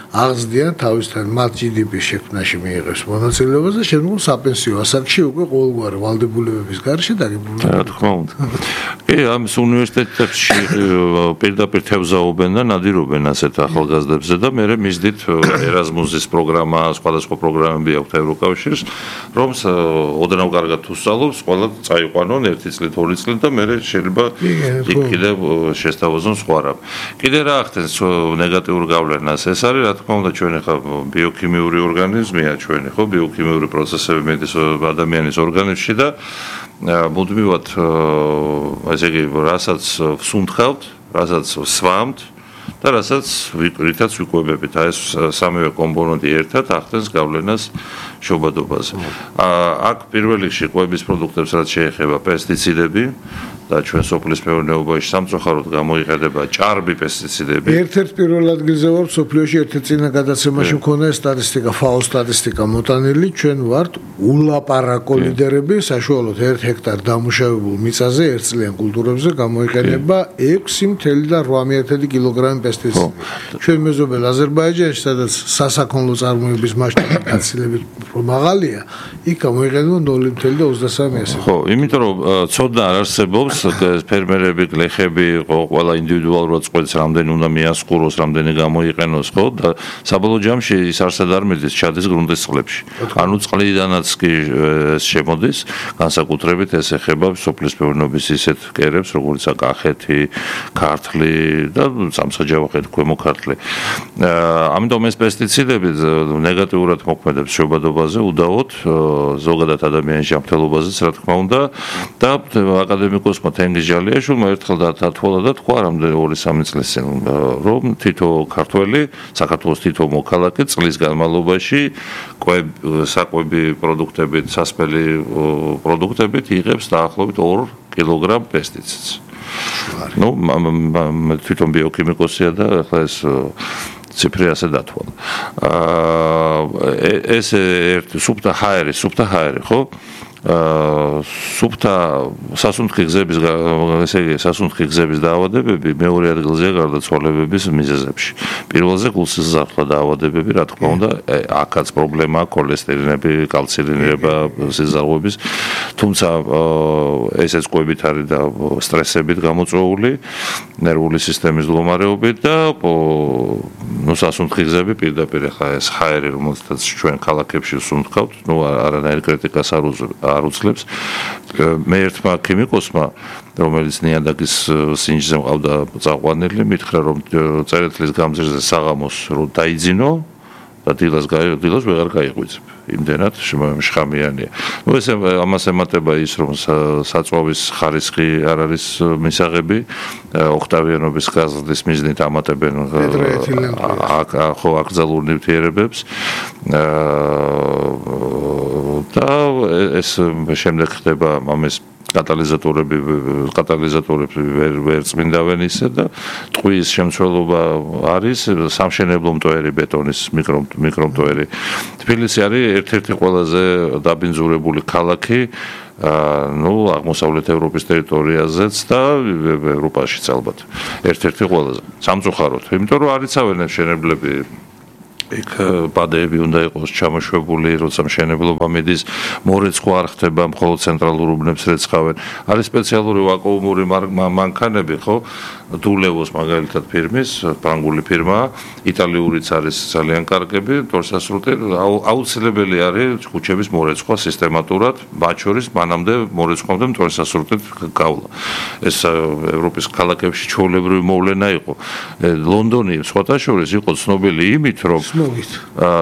აღზრდიან თავისთან მათ GDP-ის შექმნაში მიიღებს მონაწილეობას და შემდგომ საპენსიო ასაკში უკვე ყოველგვარი ვალდებულებების გარშე დაგებულება. რა თქმა უნდა. კი, ამის უნივერსიტეტებში პირდაპირ თევზაობენ და ნადირობენ ასეთ ახალგაზრდებზე და მერე მისდით ერაზმუსის პროგრამა, სხვადასხვა პროგრამები აქვს ევროკავშირს, რომ ოდნავ კარგად თუ სწავლობს, ყველა წაიყვანონ 1 წლით, 2 წლით და მერე შეიძლება იქ კიდევ შესთავაზონ სხვა რამ. კიდე რა ახდენს ნეგატიურ გავლენას ეს არის რა თქმა უნდა ჩვენი ხა ბიოქიმიური ორგანიზმია ჩვენი ხო ბიოქიმიური პროცესები მედის ადამიანის ორგანიზმში და მუდმივად ესე იგი რასაც ვსუნთქავთ, რასაც ვსვამთ და რასაც რითაც ვიკვებებით აი ეს სამივე კომპონენტი ერთად ახდენს გავლენას შობადობაზე. აქ პირველ რიგში კვების პროდუქტებს რაც შეეხება პესტიციდები და ჩვენ სოფლის მეურნეობაში სამწუხაროდ გამოიყენება ჭარბი პესტიციდები. ერთ-ერთ პირველ ადგილზე ვარ სოფლიოში ერთ-ერთ წინა გადაცემაში მქონდა სტატისტიკა, FAO სტატისტიკა მოტანილი, ჩვენ ვართ ულაპარაკო ლიდერები, საშუალოდ 1 ჰექტარ დამუშავებულ მიწაზე ერთწლიან კულტურებზე გამოიყენება 6.8 კილოგრამი პესტიციდი. ჩვენ მეზობელ აზერბაიჯანში, სადაც სასაქონლო წარმოების მასშტაბი გაცილებით მაღალია, იქ გამოიყენება 0.23. ხო, იმიტომ რომ ცოდნა არ არსებობს ფერმერები, გლეხები, ყველა ინდივიდუალურად წყვეტს რამდენი უნდა მიასყუროს, რამდენი გამოიყენოს, ხო? და საბოლოო ჯამში ის არსად არ მიდის, ჩადის გრუნტის წყლებში. ანუ წყლიდანაც კი ეს შემოდის, განსაკუთრებით ეს ეხება სოფლის მეურნეობის ისეთ კერებს, როგორც კახეთი, ქართლი და სამსაჯავახეთი, ქვემო ქართლი. ამიტომ ეს პესტიციდები ნეგატიურად მოქმედებს შობადობაზე, უდაოდ ზოგადად ადამიანის ჯანმრთელობაზეც, რა თქმა უნდა, და აკადემიკოსმა თენგიზ ჯალიაშვილმა ერთხელ დათვალა და თქვა რამდენი 2-3 წლის წინ, რომ თითო ქართველი, საქართველოს თითო მოქალაქე წლის განმავლობაში საკვები პროდუქტებით, სასმელი პროდუქტებით იღებს დაახლოებით 2 კილოგრამ პესტიციდს. ნუ თვითონ ბიოქიმიკოსია და ახლა ეს ციფრი ასე დათვალა. ეს ერთი სუფთა ჰაერი, ხო? სუფთა სასუნთქი გზების ესე იგი სასუნთქი გზების დაავადებები მეორე ადგილზეა გარდაცვალებების მიზეზებში. პირველზე გულსიზრდალა დაავადებები, რა თქმა უნდა, აქაც პრობლემაა ქოლესტერინები, კალცინირება სიზარღვების, თუმცა ესეც კვებით არის და სტრესებით გამოწვეული, ნერვული სისტემის მდგომარეობით და ნუ სასუნთქი გზები პირდაპირ ახლა ეს ჰაერი, რომელსაც ჩვენ ქალაქებში ვსუნთქავთ, ნუ არანაირ კრიტიკას არ უძლებს. მე ერთმა ქიმიკოსმა, რომელიც ნიადაგის სინჯზე მყავდა წაყვანილი, მითხრა, რომ წერეთლის გამზირზე საღამოს რო დაიძინო, და დილას ვეღარ გაიღვიძებ. იმდენად შხამიანია. ეს ამას ემატება ის, რომ საწვავის ხარისხი არ არის მისაღები, ოქტავიანობის გაზრდის მიზნით ამატებენ აკრძალულ ნივთიერებებს და ეს შემდეგ ხდება ამის კატალიზატორები ვერ წმინდავენ ისე და ტყვის შემცველობა არის სამშენებლო მტვერი ბეტონის მიკრომტვერი. თბილისი არის ერთ-ერთი ყველაზე დაბინძურებული ქალაქი აღმოსავლეთ ევროპის ტერიტორიაზეც და ევროპაშიც ალბათ. ერთ-ერთი ყველაზე სამწუხაროდ, იმიტომ რომ არ იცავენ მშენებლები იქ ბადეები უნდა იყოს ჩამოშვებული, როცა მშენებლობა მიდის, მორეცხვა არ ხდება, მხოლოდ ცენტრალურ უბნებს რეცხავენ. არის სპეციალური ვაკუუმური მანქანები, ხო? დულევოს მაგალითად ფირმის, ფრანგული ფირმა, იტალიურიც არის ძალიან კარგები, თორსასრუტე აუცილებელი არის ქუჩების მორეცხვა სისტემატურად, მათ შორის მანამდე მორეცხვამდე თორსასრუტე გავლა. ეს ევროპის ქალაქებში ჩვეულებრივი მოვლენა იყო. ლონდონი სხვათა შორის იყო ცნობილი იმით, რომ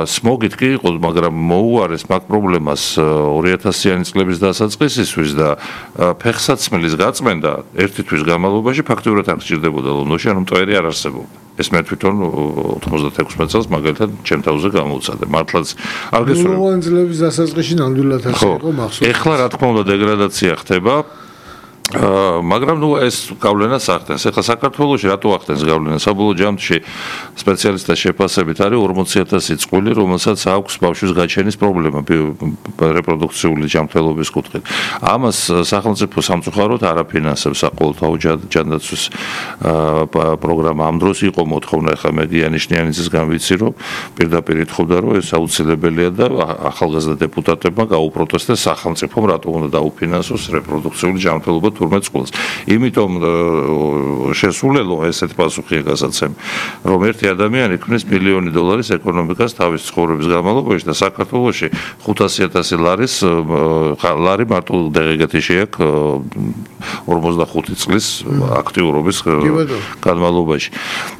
სმოგით კი იყო, მაგრამ მოუარეს მაგ პრობლემას 2000-იანი წლების დასაწყისისთვის და ფეხსაცმლის გაწმენდა ერთი თვის განმავლობაში ფაქტიურად არ სჭირდებოდა ლონდონში, ანუ მტვერი არ არსებობდა. ეს მე თვითონ 96 წელს მაგალითად ჩემ თავზე გამოვცადე. მართლაც არ გესურვებ. ლონდონის წლების დასაწყისში ნამდვილად არ იყო მახსოვს. ეხლა რა თქმა უნდა დეგრადაცია ხდება. მაგრამ ეს გავლენას ახდენს. ეხლა საქართველოში რატო ახდენს გავლენას? საბოლოო ჯამში სპეციალისტთა შეფასებით არის 40,000 წყვილი, რომელსაც აქვს ბავშვის გაჩენის პრობლემა რეპროდუქციული ჯანმრთელობის კუთხით. ამას სახელმწიფო სამწუხაროდ არ აფინანსებს საყოველთაო ჯანდაცვის პროგრამა. ამ დროს იყო მოთხოვნა, ეხლა მე გიანიშნიანიძისგან ვიცი, რომ პირდაპირ ითხოვდა, რომ ეს აუცილებელია და ახალგაზრდა დეპუტატებმა გაუპროტესტეს სახელმწიფომ, რატო უნდა დაუფინანსოს რეპროდუქციული ჯანმრთელობა თურმე წყვილს. იმიტომ შესულელო ესეთ პასუხია გასაცემი, რომ ერთი ადამიანი ქმნის $1,000,000 ეკონომიკას თავის ცხოვრების განმავლობაში და საქართველოში 500,000 ლარი მარტო დეგეგათიში აქვს 45 წლის აქტიურობის განმავლობაში.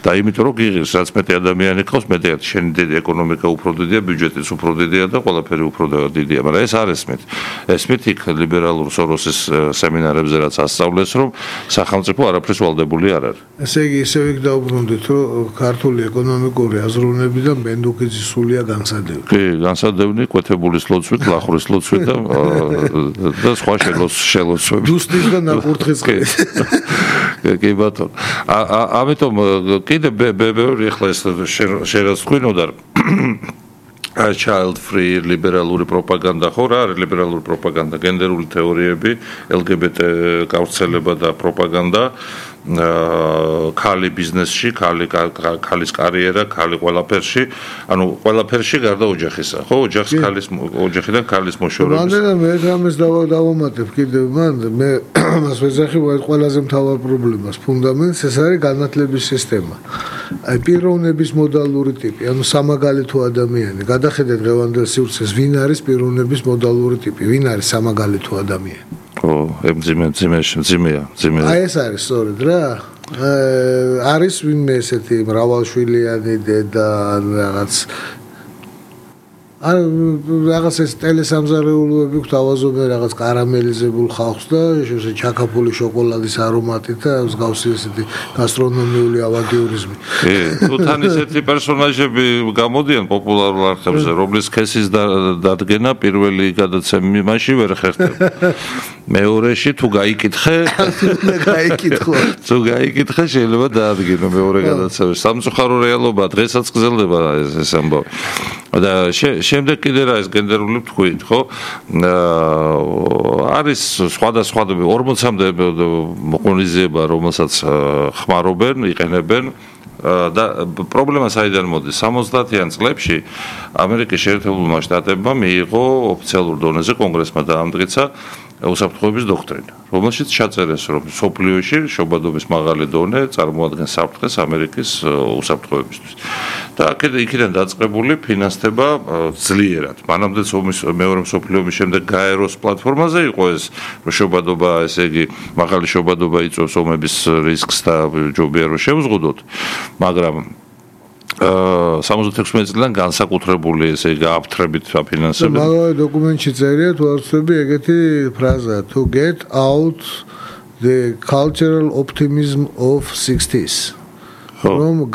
და იმიტომ რომ გიღირს, რაც მეტი ადამიანი ყავს, მეტი შენი ეკონომიკა უფრო დიდია, ბიუჯეტიც უფრო დიდია და ყველაფერი უფრო დიდია, მაგრამ ეს არ ესმით. ესმით იქ ლიბერალურ სოროსის სემინარებზე რაც ასწავლეს, რომ სახელმწიფო არაფრის ვალდებული არ არის. ესე იგი, ისევ იქ დაუბრუნდით, რომ ქართული ეკონომიკური აზროვნებიდან ბენდუქიძის სულია განსადევი. კი, განსადევნი, კვეთებულის ლოცვით, ლახურის ლოცვით და სხვა შელოცვებით. დუსტის და ნაკურთხის ყით. კი ბატონო. ამიტომ კიდე ბევრი ეხლა ეს შერაც თქვინოდა child free ლიბერალური პროპაგანდა ხო რა არის ლიბერალური პროპაგანდა გენდერული თეორიები LGBT გავრცელება და პროპაგანდა ქალი ბიზნესში ქალის კარიერა ქალი ყველაფერში ანუ ყველაფერში გარდა ოჯახისა ხო ოჯახს ქალის ოჯახიდან ქალის მოშორების მანდ მე რამეს დავამატებ კიდევ მან მე მას ვეძახი ყველაზე მთავარ პრობლემას ფუნდამენტს ეს არის განათლების სისტემა აი პიროვნების მოდალური ტიპი ანუ სამაგალითო ადამიანი გადახედეთ დღევანდელ სივრცეს ვინ არის პიროვნების მოდალური ტიპი ვინ არის სამაგალითო ადამიანი ძიმეა აი ეს არის სწორედ რა არის ვინმე ესეთი მრავალშვილიანი დედა რაღაც რაღაც ეს ტელესამზარეულოები გვთავაზობენ რაღაც კარამელიზებულ ხალხს და ჩაკაფული შოკოლადის არომატით და მსგავსი ესეთი გასტრონომიული ავანტიურიზმი. თუ თან ესეთი პერსონაჟები გამოდიან პოპულარულ არხებზე, რომლის ქესის დადგენა პირველი გადაცემაში ვერ ხერხდება. მეორეში თუ გაიკითხე, თუ გაიკითხე შეიძლება დაადგინო მეორე გადაცემაში. სამწუხარო რეალობა დღესაც გრძელდება ეს ამბავი. და შემდეგ კიდე რა ეს გენდერული თქვით, ხო? არის სხვადასხვა 40-მდე მოყონიზება, რომელსაც ხმარობენ, იყენებენ და პრობლემა საიდან მოდის? 70-იან წლებში ამერიკის შეერთებულმა შტატებმა მიიღო ოფიციალურ დონეზე კონგრესმა დაამტკიცა უსაფრთხოების დოქტრინა, რომელშიც ჩაწერეს, რომ სოფლიოში შობადობის მაღალი დონე წარმოადგენს საფრთხეს ამერიკის უსაფრთხოებისთვის. და იქიდან დაწყებული ფინანსდება ძლიერად. მანამდეც მეორე მსოფლიო ომის შემდეგ გაეროს პლატფორმაზე იყო ეს შობადობა, ესე იგი, მაღალი შობადობა იწვევს ომების რისკს და ჯობია რომ შევზღუდოთ, მაგრამ 76 წლიდან განსაკუთრებული ესე იგი აფთრებით აფინანსებენ. მაგალითად დოკუმენტში წერია თუ არ ვცდები ეგეთი ფრაზა to get out the cultural optimism of 60s. რომ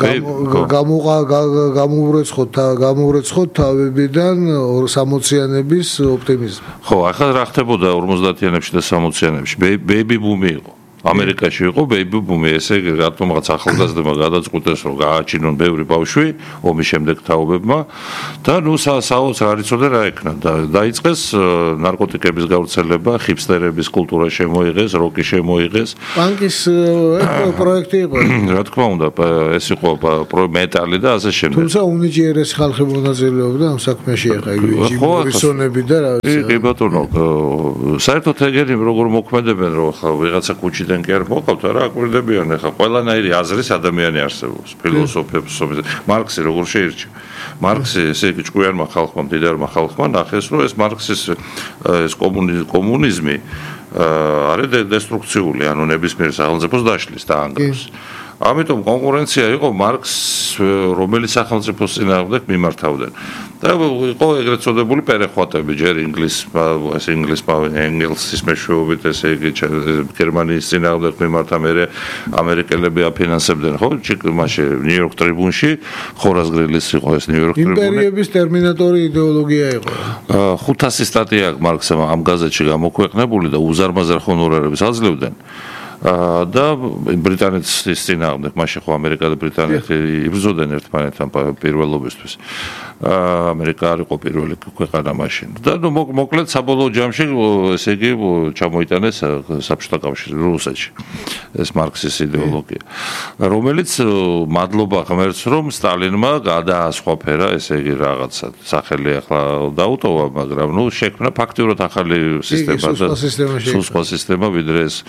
გამოვრეცხოთ თავებიდან 60-იანების ოპტიმიზმი. ხო, ახლა რა ხდებოდა 50-იანებში და 60-იანებში? ბეიბი ბუმი იყო. ამერიკაში იყო ბეიბი ბუმი, ესე იგი რატომღაც ახალგაზრდებმა გადაწყვიტეს რომ გააჩინონ ბევრი ბავშვი ომის შემდეგ თაობებმა და ნუ საოცრ არ იცოდა რა ეკნა და დაიწყეს ნარკოტიკების გავრცელება, ჰიპსტერების კულტურა შემოიღეს, როკი შემოიღეს. პანკის პროექტი იყო. რა თქმა უნდა, ეს იყო მეტალი და ასე შემდეგ. თუმცა უნიჭიერესი ხალხი მონაწილეობდა ამ საქმეში ახლა იგი მორისონები და რა ვიცი. კი ბატონო, საერთოდ ეგენი როგორ მოქმედებენ რომ ხა ვიღაცა კუჩი დენ კი არ მოყავთ რა აკვირდებიან ახლა ყველანაირი აზრის ადამიანი არსებობს ფილოსოფებს მარქსი როგორ შეირჩა მარქსი ესე იგი ჭკვიანმა ხალხმა მდიდარმა ხალხმა ნახეს რომ ეს მარქსის ეს კომუნიზმი არის დესტრუქციული ანუ ნებისმიერ სახელმწიფოს დაშლის და ანგრევს ამიტომ კონკურენცია იყო მარქსს რომელიც სახელმწიფოს წინააღმდეგ მიმართავდნენ და იყო ეგრეთ წოდებული პერეხვატები ჯერ ინგლისის მეშვეობით ესე იგი გერმანიის წინააღმდეგ მიმართა მერე ამერიკელები აფინანსებდნენ ხო მაშინ ნიუ-იორკ ტრიბუნში ხორაზგრილის იყო ეს ნიუ-იორკ ტრიბუნი იმპერიების ტერმინატორი იდეოლოგია იყო 500 სტატია აქვს მარქსმა ამ გაზეთში გამოქვეყნებული და უზარმაზარ ჰონორარებს აძლევდნენ და ბრიტანეთის წინააღმდეგ მაშინ ხო ამერიკა და ბრიტანეთი იბრძოდნენ ერთმანეთთან პირველობისთვის ამერიკა არ იყო პირველი ქვეყანა მაშინ და ნუ მოკლედ საბოლოო ჯამში ესე იგი ჩამოიტანეს საბჭოთა კავშირში რუსეთში ეს მარქსის იდეოლოგია რომელიც მადლობა ღმერთს რომ სტალინმა გადაასხვაფერა ესე იგი რაღაცა სახელი ახლა დაუტოვა მაგრამ ნუ შექმნა ფაქტიურად ახალი სისტემა და სხვა სისტემა ვიდრე ეს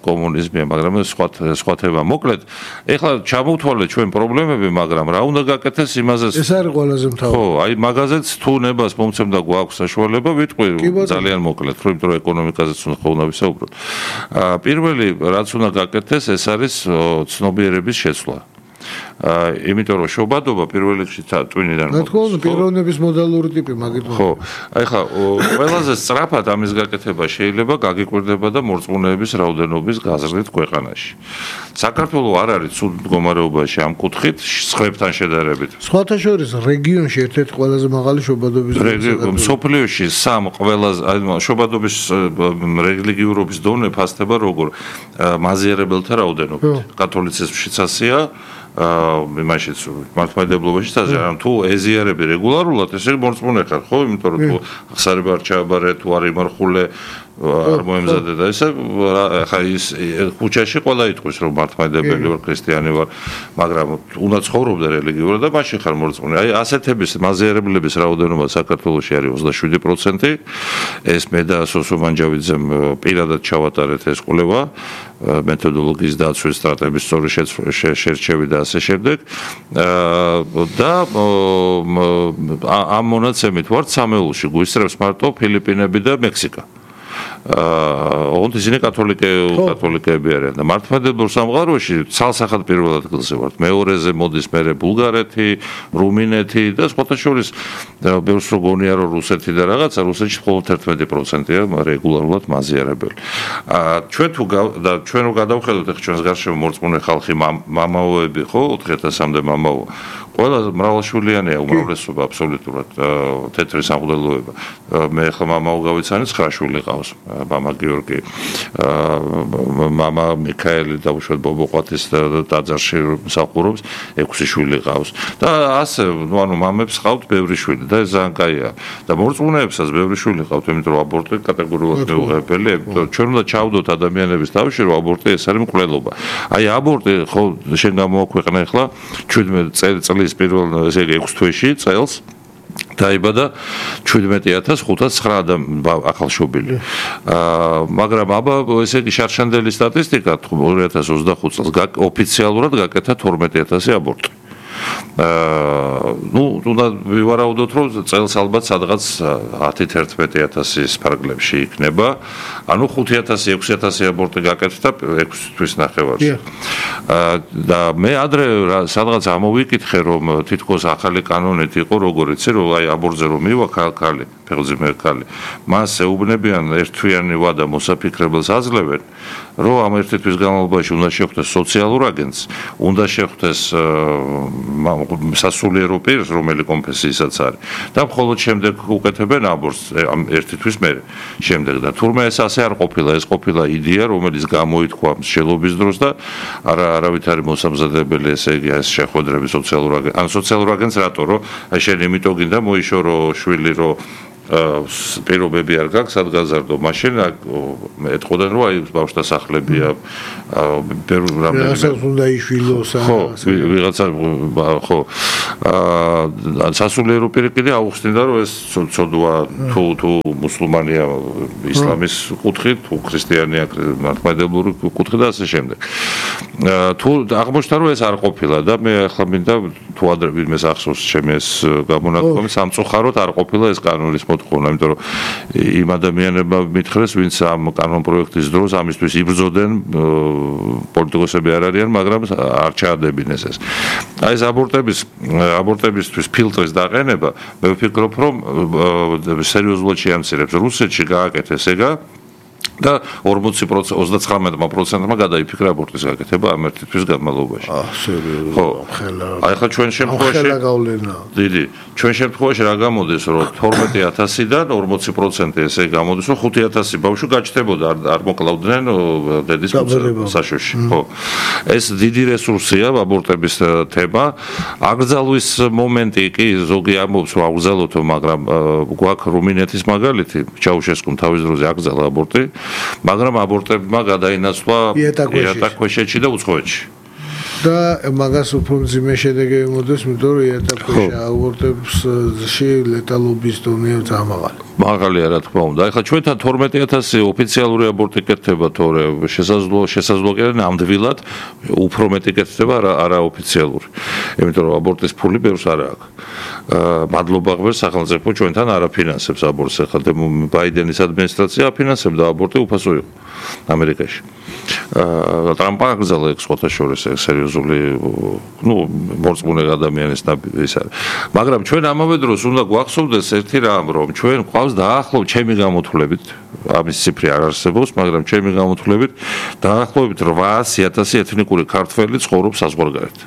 კომუნიზმია, მაგრამ სხვა თემა. მოკლედ, ეხლა ჩამოვთვალეთ ჩვენ პრობლემები, მაგრამ რა უნდა გაკეთდეს იმაზეც. ეს არის ყველაზე მთავარი. ხო, აი მაგაზეც თუ ნებას მომცემ და გვაქვს საშუალება, ვიტყვი ძალიან მოკლედ, იმიტომ რომ ეკონომიკაზეც უნდა ვისაუბროთ. პირველი რაც უნდა გაკეთდეს, ეს არის ცნობიერების შეცვლა. იმიტომ რომ შობადობა პირველ რიგში ტვინიდან მოდის. რა თქმა უნდა, პიროვნების მოდალური ტიპი მაგით. ხო, აი ხა ყველაზე სწრაფად ამის გაკეთება შეიძლება გაგიკვირდება და მორწმუნეების რაოდენობის გაზრდით ქვეყანაში. საქართველოს არ არის ცუდ მდგომარეობაში ამ კუთხით სხვებთან შედარებით. სხვათა შორის რეგიონში ერთ-ერთი ყველაზე მაღალი შობადობის დონე. სოფლიოში სამ ყველაზე შობადობის რელიგიურობის დონე ფასდება როგორ მაზიარებელთა რაოდენობით. კათოლიციზმშიც ასეა იმაშიც მართლმადიდებლობაშიც ასე რომ თუ ეზიარები რეგულარულად ესე მორწმუნე ხარ ხო იმიტომ რომ თუ ხსარება არ ჩააბარე თუ არ იმარხულე არ მოემზადე და ესე ხა ის ქუჩაში ყველა იტყვის რომ მართლმადიდებელი ვარ ქრისტიანი ვარ მაგრამ უნდა ცხოვრობდე რელიგიურად და მაშინ ხარ მორწმუნე აი ასეთების მაზიარებლების რაოდენობა საქართველოში არის 27% ეს მე და სოსო მანჯავიძემ პირადად ჩავატარეთ ეს კვლევა მეთოდოლოგიის დაცვის სტრატეგიის სწორი შერჩევი და ასე შემდეგ და ამ მონაცემით ვართ სამეულში გვისწრებს მარტო ფილიპინები და მექსიკა ოღონდ ისინი კათოლიკეები არიან და მართლმადიდებელ სამყაროში ცალსახად პირველ ადგილზე ვართ მეორეზე მოდის მერე ბულგარეთი, რუმინეთი და სხვათა შორის ბევრს რო გონია რომ რუსეთი და რაღაცა რუსეთში მხოლოდ 11%-ია რეგულარულად მაზიარებელი. ჩვენ რო გადავხედოთ ახლა ჩვენს გარშემო მორწმუნე ხალხი მამაოები ხო 4000-მდე მამაო ყველა მრავალშვილიანია უმრავლესობა აბსოლუტურად თეთრი სამღვდელოება მე ხა მამაო გავიცანი 9 შვილი ყავს მამა გიორგი მამა მიქაელი და უშუალოდ ბობოყვათის ტაძარში მსახურობს 6 შვილი ყავს და ასე ნუ ანუ მამებს ყავთ ბევრი შვილი და ეს ძალიან კაია და მორწმუნეებსაც ბევრი შვილი ყავთ იმიტომ რომ აბორტი კატეგორიულად მეუღებელია ჩვენ უნდა ჩავდოთ ადამიანების თავში რომ აბორტი ეს არის მკვლელობა აი აბორტი ხო შენ გამოაქვეყნა ახლა 17 წლის პირველ ესე იგი 6 თვეში წელს დაიბადა 17509 ახალშობილი. მაგრამ აბა ესე იგი შარშანდელი სტატისტიკა 2025 წელს ოფიციალურად გაკეთა 12000 აბორტი. ну, უნდა ვივარაუდოთ, რომ წელს ალბათ სადღაც 10-11,000 ფარგლებში იქნება. ანუ 5,000-6,000 აბორტი გაკეთდა 6 თვის ნახევარში. და მე ადრე სადღაც ამოვიკითხე, რომ თითქოს ახალი კანონით იყო, როგორიც რომ აი აბორტზე რომ მივა ქალი, ფეხბურთზე ქალი. მას ეუბნებიან ერთთვიანი ვადა მოსაფიქრებელს აძლევენ, რომ ამ ერთი თვის განმავლობაში უნდა შეხვდეს სოციალურ აგენტს, უნდა შეხვდეს სასულიერო პირს, რომელი კონფესიისაც არის. და მხოლოდ შემდეგ უკეთებენ აბორტს ამ ერთი თვის მერე. შემდეგ და თურმე ეს ასე არ ყოფილა, ეს ყოფილა იდეა, რომელიც გამოითქვა მსჯელობის დროს და არავით არის მოსამზადებელი, ესე იგი ეს შეხვედრები სოციალურ აგენტს. ან სოციალურ აგენტს რატო, რომ აი შენ იმიტომ გინდა მოიშორო შვილი, რომ პირობები არ გაქვს, სად გაზარდო, მაშინ ეთყოდან რომ აი ბავშვთა სახლებია, რამდენიმე უნდა იშვილოს, ვიღაცა ხო, სასულიერო პირი კიდე აუხსნიდა, რომ ეს ცოდვა თუ მუსულმანია ისლამის კუთხით, თუ ქრისტიანია მართლმადიდებლური კუთხით და ასე შემდეგ. თუ აღმოჩნდა, რომ ეს არ ყოფილა და მე ახლა მინდა თუ ადრე ვინმეს ახსოვს ჩემი ეს გამონათქვამი, სამწუხაროდ არ ყოფილა ეს კანონის მოთხოვნა, იმიტომ რომ იმ ადამიანებმა მითხრეს, ვინც ამ კანონ პროექტის დროს ამისთვის იბრძოდნენ, პოლიტიკოსები არ არიან, მაგრამ არ ჩაადებინეს ეს. აი ეს აბორტებისთვის ფილტრის დაყენება, მე ვფიქრობ, რომ სერიოზულად შეამცირებს. რუსეთში გააკეთეს ეგა და 29%-მა გადაიფიქრა აბორტის გაკეთება ამ ერთი თვის განმავლობაში. სერიოზულად. ხო. აი ხა ჩვენ შემთხვევაში დიდი, ჩვენ შემთხვევაში რა გამოდის, რომ 12,000-დან 40% ესე გამოდის, რომ 5,000 ბავშვი გაჩნდებოდა, არ მოკლავდნენ დედის საშოში. ხო. ეს დიდი რესურსია აბორტების თემა. აკრძალვის მომენტი კი ზოგი ამბობს, რომ აკრძალოთო, მაგრამ გვაქვს რუმინეთის მაგალითი, ჩაუშესკუმ თავის დროზე აკრძალა აბორტი. მაგრამ აბორტებმა გადაინაცვლა იატაკქვეშეთში და უცხოეთში. და მაგას უფრო მძიმე შედეგი მოდის, იმიტომ რომ იატაკქვეშა აბორტებში ლეტალობის დონე ძალიან მაღალია, რა თქმა უნდა. ეხლა ჩვენთან 12,000 ოფიციალური აბორტი კეთდება, თორე შესაძლოა კიდე ნამდვილად უფრო მეტი კეთდება არაოფიციალური. იმიტომ რომ აბორტის ფული ბევრს არ აქვს. მადლობა ღმერთს, სახელმწიფო ჩვენთან არ აფინანსებს აბორტს. ეხლა ბაიდენის ადმინისტრაცია აფინანსებდა აბორტი უფასო იყო ამერიკაში. ტრამპმა აკრძალა ეს სხვათა შორის სერიოზული, მორწმუნე ადამიანის ის არის. მაგრამ ჩვენ ამავე დროს უნდა გვახსოვდეს ერთი რამ, რომ ჩვენ ყავს დაახლოებით ჩემი გამოთვლებით, ამის ციფრი არ არსებობს, მაგრამ ჩემი გამოთვლებით დაახლოებით 800,000 ეთნიკური ქართველი ცხოვრობს საზღვარგარეთ.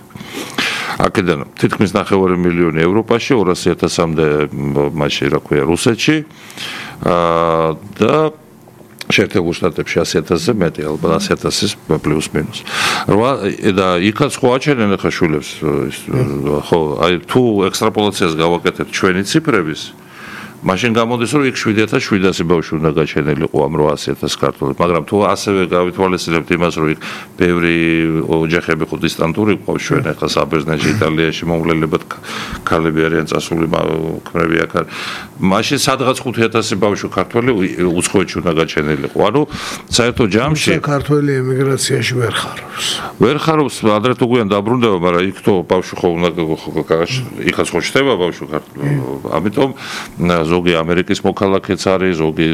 აქედან თითქმის 9 მილიონი ევროპაში, 200,000-მდე მასში, რა ქვია, რუსეთში და შეერთებულ შტატებში 100,000-ზე მეტი, ალბათ 100,000 პლუს მინუს. და იქაც ხო აჩენენ ახლა შვილებს, ხო, აი თუ ექსტრაპოლაციას გავაკეთებთ ჩვენი ციფრების, მაშინ გამოდის, რომ იქ 7,700 ბავშვი უნდა გაჩენილიყო ამ 800,000 ქართველებს, მაგრამ თუ ასევე გავითვალისწინებთ იმას, რომ იქ ბევრი ოჯახები ხო დისტანტური ყავს ჩვენ, ახლა საბერძნეთში, იტალიაში მომვლელებად ქალები არიან წასული ქმრები აქ არის. მაშინ სადღაც 5,000 ბავშვი ქართველი უცხოეთში უნდა გაჩენილიყო. ანუ საერთო ჯამში ქართველი ემიგრაციაში ვერ ხარობს, ადრე თუ გვიან დაბრუნდება, მაგრამ იქ თო ბავშვი ხო უნდა იქაც ხო ჩდება ბავშვი ქართველი. ამიტომ ზოგი ამერიკის მოქალაქეც არის, ზოგი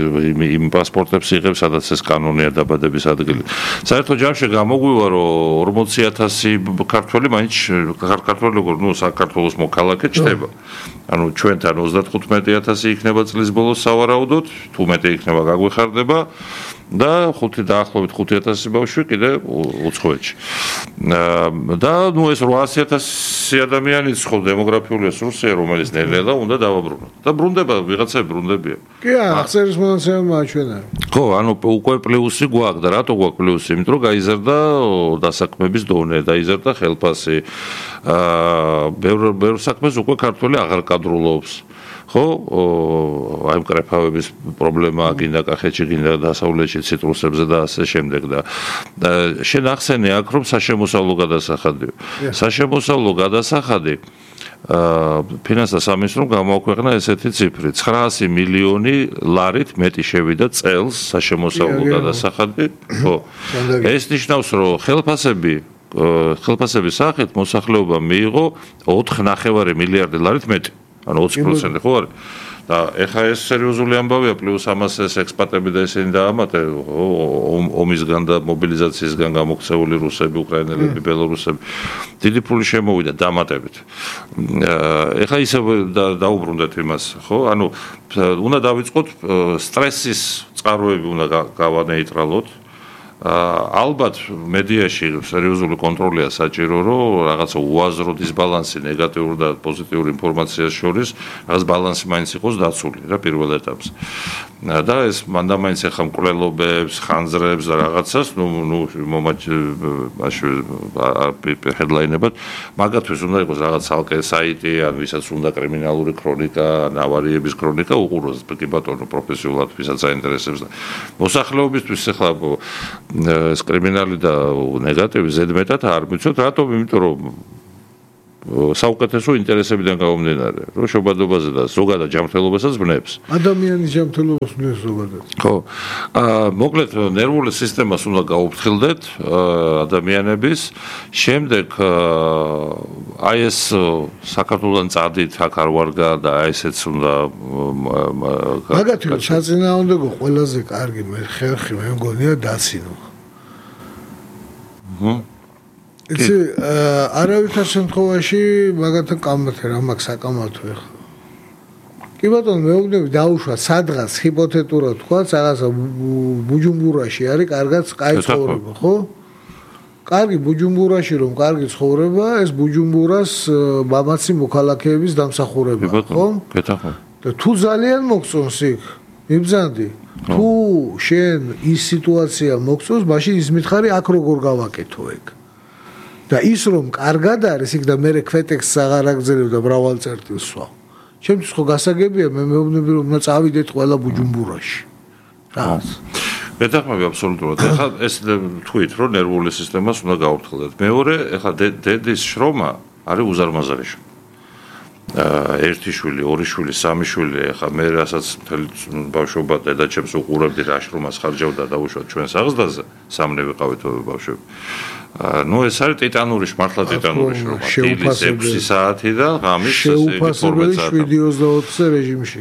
იმ პასპორტებს იღებს, სადაც ეს კანონია დაბადების ადგილი. საერთო ჯამში გამოგვივა, რომ 40,000 ქართველი მაინც ქართველი როგორ, საქართველოს მოქალაქე ჩდება. ანუ ჩვენთან 35,000 იქნება წლის ბოლოს სავარაუდოდ, თუ მეტი იქნება გაგვეხარდება და დაახლოებით 5,000 ბავშვი კიდე უცხოეთში. და ეს 800,000 ადამიანის ხო დემოგრაფიული რესურსია, რომელიც ნელ-ნელა უნდა დავაბრუნოთ. და ბრუნდება, ვიღაცები ბრუნდებიან. კი, აღწერის მონაცემები აჩვენა. ხო, ანუ უკვე პლუსი გვაქვს და რატო გვაქვს პლუსი? იმიტომ რომ გაიზარდა დასაქმების დონე, დაიზარდა ხელფასი. ბევრ საქმეს უკვე ქართველი აღარ კადრულობს. ხო, აი მკრეფავების პრობლემა გინდა კახეთში, გინდა დასავლეთში, ციტრუსებზე და ასე შემდეგ და შენ ახსენე აქ რომ საშემოსავლო გადასახადია. საშემოსავლო გადასახადი ფინანსთა სამინისტრომ გამოაქვეყნა ესეთი ციფრი: 900 მილიონი ლარით მეტი შევიდა წელს საშემოსავლო გადასახადი. ხო. ეს ნიშნავს, რომ ხელფასები ხელფასების სახით მოსახლეობამ მიიღო 4.5 მილიარდი ლარით მეტი, ანუ 20% ხო არის? და ეხა ეს სერიოზული ამბავია, პლუს ამას ეს ექსპატები და ესენი დაამატე, ომისგან და მობილიზაციისგან გამოქცეული რუსები, უკრაინელები, ბელორუსები, დიდი ფული შემოვიდა დამატებით. ეხა ისე დაუბრუნდეთ იმას, ხო? ანუ უნდა დავიწყოთ სტრესის წყაროები უნდა გავანეიტრალოთ. ალბათ მედიაში სერიოზული კონტროლია საჭირო, რომ რაღაცა უაზრო დისბალანსი ნეგატიური და პოზიტიური ინფორმაციას შორის რაღაც ბალანსი მაინც იყოს დაცული რა პირველ ეტაპზე. და ეს მანდამაინც ახლა მკვლელობებს, ხანძრებს და რაღაცას, ჰედლაინებად, მაგათთვის უნდა იყოს რაღაც ალკე საიტი, ან ვისაც უნდა კრიმინალური ქრონიკა, ან ავარიების ქრონიკა უყუროს კი ბატონო პროფესიულად ვისაც აინტერესებს და მოსახლეობისთვის ახლა ეს კრიმინალი და ნეგატივი ზედმეტად არ მიცოთ, რატომ? იმიტომ რომ საუკეთესო ინტერესებიდან გამომდინარე, რომ შობადობაზე და ზოგადად ჯანმრთელობასაც ბნებს. ადამიანის ჯანმრთელობას ბნებს ზოგადად. ხო. მოკლედ ნერვული სისტემას უნდა გაუფრთხილდეთ ადამიანების. შემდეგ აი ეს საქართველოსთან წადით აქ არ ვარგა და აი ესეც უნდა მაგათი საწინააღმდეგო ყველაზე კარგი ხერხი მე მგონია დაცინო. იცი არავითარ შემთხვევაში მაგათთან კამათე რა მაქვს საკამათო ახლა. კი ბატონო მეუბნები დაუშვა სადღაც ჰიპოთეტურად თქვა რაღაცა ბუჯუმბურაში არის კარგად კაი ცხოვრება, ხო? კარგი ბუჯუმბურაში რომ კარგი ცხოვრება, ეს ბუჯუმბურას მამაცი მოქალაქეების დამსახურებაა, ხო? გეთახო. და თუ ძალიან მოგწონს იქ, მიბრძანდი. თუ შენ ის სიტუაცია მოგწონს, მაშინ ის მითხარი აქ როგორ გავაკეთო ეგ. და ის რომ კარგად არის იქ და მე ქვეტექსს აღარ აგზელებ და მრავალ წერტილს სვავ. ჩემთვის ხო გასაგებია, მე მეუბნები რომ უნდა წავიდეთ ყველა ბუჯუმბურაში. რა? გეთახმები აბსოლუტურად. ეხლა ეს თქვით, რომ ნერვული სისტემას უნდა გაუფრთხილდეთ. მეორე, ეხლა დედის შრომა არის უზარმაზარი შრომა. ერთი შვილი, ორი შვილი, სამი შვილი, ეხლა მე რასაც მთელი ბავშვობა დედაჩემს უყურებდი რა შრომას ხარჯავდა დაუშვათ ჩვენს აღზრდაზე, სამნე ვიყავით ბავშვები. ეს არის ტიტანური, მართლა ტიტანური შრომა. დილის 6 საათი და ღამის 12 საათი. 7-24 რეჟიმში.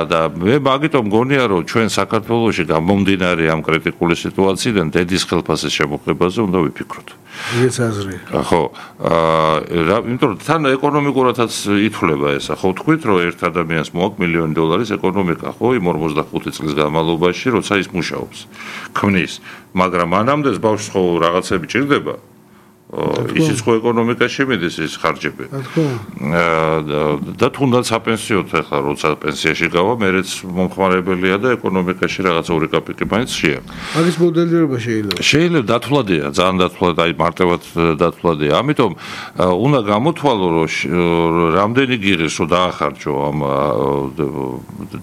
და მე მაგიტომ მგონია, რომ ჩვენ საქართველოში გამომდინარე ამ კრიტიკული სიტუაციიდან დედის ხელფასის შემოღებაზე უნდა ვიფიქროთ. ეს აზრი. ხო, იმიტომ რომ თან ეკონომიკურადაც ითვლება ესა. ხო, თქვით, რომ ერთ ადამიანს მოაქვს $1,000,000 ეკონომიკა, ხო, იმ 45 წლის განმავლობაში, როცა ის მუშაობს, ქმნის, მაგრამ მანამდე ბავშვს ხო რაღაცები ჭირდება. ისიც ხო ეკონომიკაში მიდის ის ხარჯები. და თუნდაც აპენსიოთ ახლა როცა პენსიაში გავა, მერეც მომხმარებელია და ეკონომიკაში რაღაც 2 კაპიკი მაინც შეა. მაგის მოდელირება შეიძლება. შეიძლება დათვლადია, ძალიან დათვლად, აი მარტივად დათვლადია. ამიტომ უნდა გამოთვალო, რომ რამდენი გიღეს, რომ დაახარჯო ამ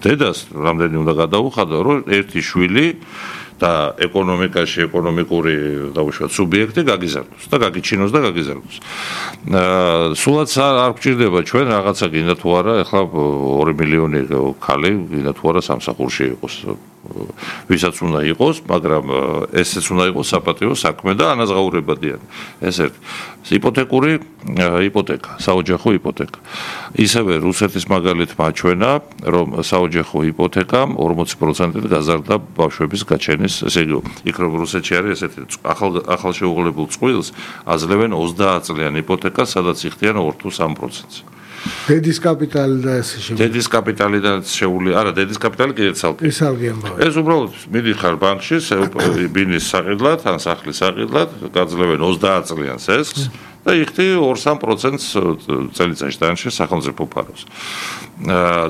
დედას, რამდენი უნდა გადაუხადო, რომ ერთი შვილი და ეკონომიკაში ეკონომიკური დაუშვათ სუბიექტი გაგიზარდოს და გაგიჩინოს და გაგიზარდოს. სულაც არ გვჭირდება ჩვენ რაღაცა გინდა თუ არა, ეხლა 2 მილიონი ქალი გინდა თუ არა სამსახურში იყოს. ვისაც უნდა იყოს, მაგრამ ესეც უნდა იყოს საპატიო საქმე და ანაზღაურებადიანი. ეს ერთ იპოთეკური იპოთეკა, საოჯახო იპოთეკა. ისევე რუსეთის მაგალით მაჩვენა, რომ საოჯახო იპოთეკამ 40%-ით გაზარდა ბავშვების გაჩენის, ესე იგი, იქ რომ რუსეთში არის ესეთი ახალშეუღლებულ წყვილს აძლევენ 30 წლიან იპოთეკას, სადაც იხდიან 2 თუ 3%-ს. დედის კაპიტალი და ესე შემდეგ. დედის კაპიტალიდან შეული, არა, დედის კაპიტალი კიდე ცალკე. ეს ალგი ამბავი. ეს უბრალოდ მიდიხარ ბანკში, ბინის საყიდლად, ან სახლის საყიდლად, გაძლევენ 30 წლიან სესხს და იხდი 2-3%-ს წელიწადში დანში სახელმწიფო ფარავს.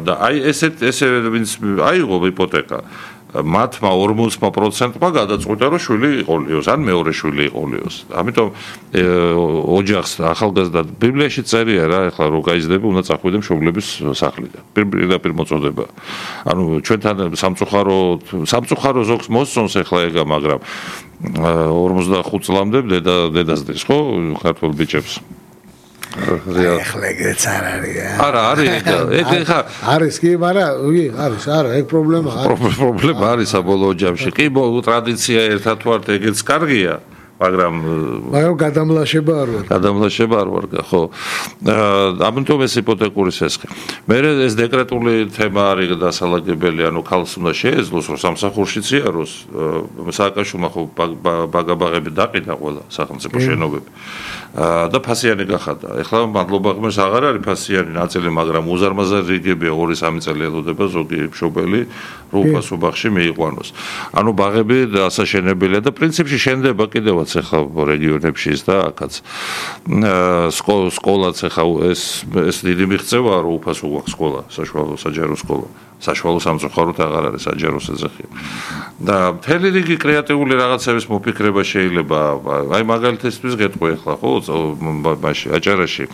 და აი ესე ვინც აიღო იპოთეკა, მათმა 40%-მა გადაწყვიტა, რომ შვილი იყოლიოს, ან მეორე შვილი იყოლიოს. ამიტომ ოჯახს ახალგაზრდა ბიბლიაში წერია რა, ეხლა რო გაიზრდები, უნდა წახვიდე მშობლების სახლიდან. პირდაპირ მოწოდება. ანუ ჩვენთან სამწუხარო ზოგს მოსწონს ეხლა ეგა, მაგრამ 45 წლამდე დედასდეს, ხო, ქართულ ბიჭებს. ეხლა ეგეც არ არის. არა, არის ეგ ხა არის კი, მაგრამ არის, არა, ეგ პრობლემა არის. პრობლემა არის საბოლოო ჯამში. კი, ტრადიცია ერთად ვართ, ეგეც კარგია, მაგრამ გადამლაშება არ ვარ. გადამლაშება არ ვარ, ხო. ამიტომ ეს იპოთეკური სესხი. მე ეს დეკრეტული თემა არის დასალაგებელი, ანუ ქალს უნდა შეეძლოს, რომ სამსახურშიც იაროს, სააკაშვილმა ხო ბაგაბაღები დაყიდა ყველა სახელმწიფო შენობები. და ფასიანი გახადა. ეხლა მადლობა ღმერთს აღარ არის ფასიანი ნაწილი, მაგრამ უზარმაზარი რიგებია 2-3 წელი ელოდება ზოგი მშობელი რუპასო ბაღში მიიყვანოს. ანუ ბაღები დასაშენებელია და პრინციპში შენდება კიდევაც ეხლა რეგიონებში და აქაც. სკოლაც ეხლა ეს დიდი მიღწევაა რომ უფასო გვაქვს სკოლა, საშუალო საჯარო სკოლა. საშუალო სამწუხაროდ აღარ არის საჯარო ეძახი. და მთელი რიგი კრეატიული რაღაცების მოფიქრება შეიძლება, აი მაგალითისთვის გეტყვი ახლა ხო, მაშინ აჭარაში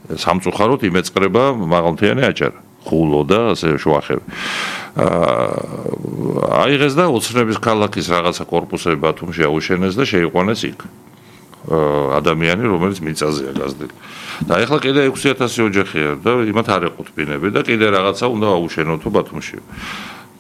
სამწუხაროდ იმეწყრება მაღალმთიანი აჭარა, ხულო და ასე შუახევი. აიღეს და ოცნების ქალაქის რაღაცა კორპუსები ბათუმში აუშენეს და შეიყვანეს იქ. ადამიანი, რომელიც მიწაზეა გაზრდილი. და ეხლა კიდე 6000 ოჯახია და იმათ არ ეყოთ ბინები და კიდე რაღაცა უნდა აუშენოთო ბათუმში.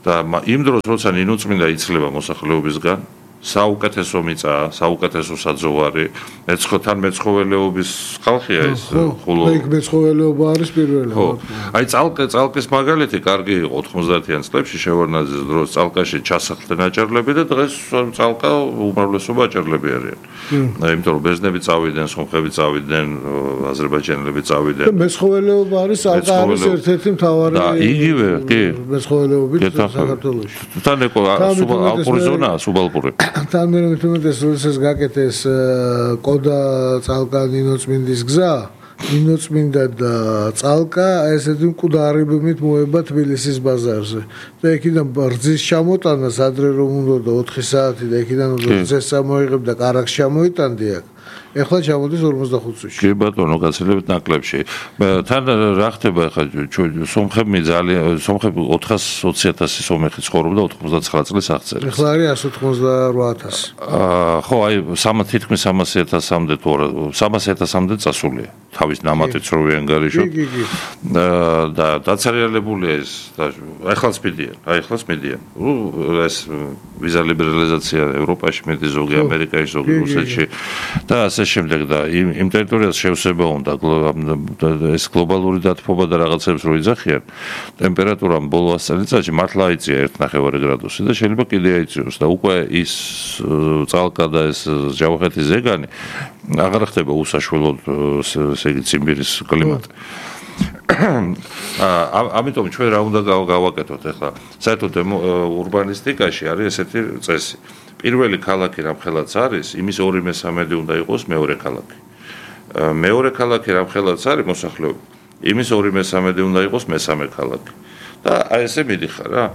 და იმ დროს როცა ნინუწმინდა იცლება მოსახლეობისგან, საუკეთესო მიწაა, საუკეთესო საძოვარი, მეცხოველეობის ხალხია ეს ხულო. იქ მეცხოველეობა არის პირველი. ხო. აი წალკის მაგალითი კარგი იყო 90-იან წლებში შევარნაძის დროს წალკაში ჩასახლდნენ აჭარლები და დღეს წალკა უმრავლესობა აჭარლები არიან. იმიტომ რომ ბერძნები წავიდნენ, სომხები წავიდნენ, აზერბაიჯანელები წავიდნენ. და მეცხოველეობა არის წალკა არის ერთ-ერთი მთავარი. და იგივე, კი. მეცხოველეობით საქართველოში. თან ეკო ალპური ზონაა, სუბალპური. თან მე მეტყვით როდესაც გაკეთეს კოდა წალკა ნინოწმინდის გზა, ნინოწმინდა და წალკა ესეთი მკვდარებით მოება თბილისის ბაზარზე. და იქიდან რძის ჩამოტანას ადრე რომ უნდა 4 საათი და იქიდან უნდა რძეს წამოიღებდა კარაქს ჩამოიტანდი აქ. ეხლა ჩამოდის 45 წუთში. კი ბატონო, გაცილებით ნაკლებში. თან რა ხდება ახლა სომხები ძალიან სომხები 420,000 სომეხი ცხოვრობდა 99 წლის აღწერით. ეხლა არის 188,000. ხო, აი თითქმის 300,000-მდე თუ 300,000-მდე წასულია. თავის ნამატით რო ვიანგარიშო. და დაცარიალებულია ეს და ახლაც მიდიან. ეს ვიზა ლიბერალიზაცია ევროპაში, მეტი ზოგი ამერიკაში, ზოგი რუსეთში და ასე შემდეგ და იმ ტერიტორიას შევსება უნდა ეს გლობალური დათბობა და რაღაცებს რო იძახიან ტემპერატურამ ბოლო 100 წელიწადში მართლა აიწია 1.5 გრადუსი და შეიძლება კიდე აიწიოს და უკვე ის წალკა და ეს ჯავახეთის ზეგანი აღარ ხდება უსაშველოდ ესე იგი ციმბირის კლიმატი. ამიტომ ჩვენ რა უნდა გავაკეთოთ ახლა საერთოდ ურბანისტიკაში არის ესეთი წესი. პირველი ქალაქი რამხელაც არის, იმის 2/3 უნდა იყოს მეორე ქალაქი. მეორე ქალაქი რამხელაც არის მოსახლეობა, იმის 2/3 უნდა იყოს მესამე ქალაქი. და აი ესე მიდიხარ რა.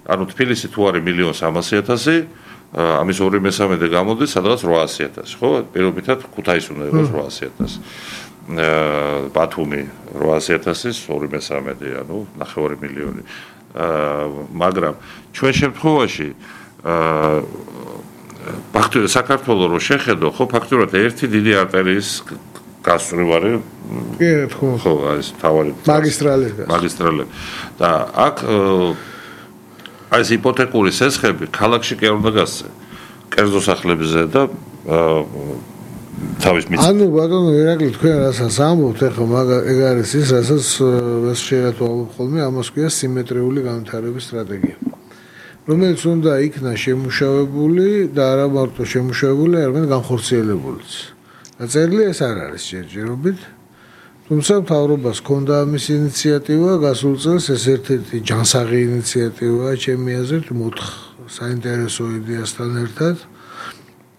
ანუ თბილისი თუ არის 1,300,000, ამის 2/3 გამოდის სადღაც 800,000, ხო? პირობითად ქუთაისი უნდა იყოს 800,000. ბათუმი 800,000, 2/3, ანუ 9 მილიონი. მაგრამ ჩვენ შემთხვევაში ფაქტობრივად საქართველოს რო შეხედო, ხო, ფაქტობრივად ერთი დიდი არტერიის გასწვრივარი ხო, ეს თავარი მაგისტრალები. და აქ აი ეს იპოთეკური სესხები ქალაქში კი არ უნდა გასცე. კერძო სახლებზე და თავის მიწა. ანუ ბატონო ერაკლი თქვენ რასაც ამბობთ, ახლა ეგ არის ის, რასაც ეს შეერთვალობ ხოლმე, ამას ქვია სიმეტრიული განვითარების სტრატეგია. რომელიც უნდა იქნა შემუშავებული და არა მარტო შემუშავებული, არამედ განხორციელებულიც. დაწერილი ეს არ არის ჯერჯერობით. თუმცა მთავრობას ჰქონდა ამის ინიციატივა, გასულ წელს ეს ერთ-ერთი ჯანსაღი ინიციატივაა ჩემი აზრით, საინტერესო იდეასთან ერთად.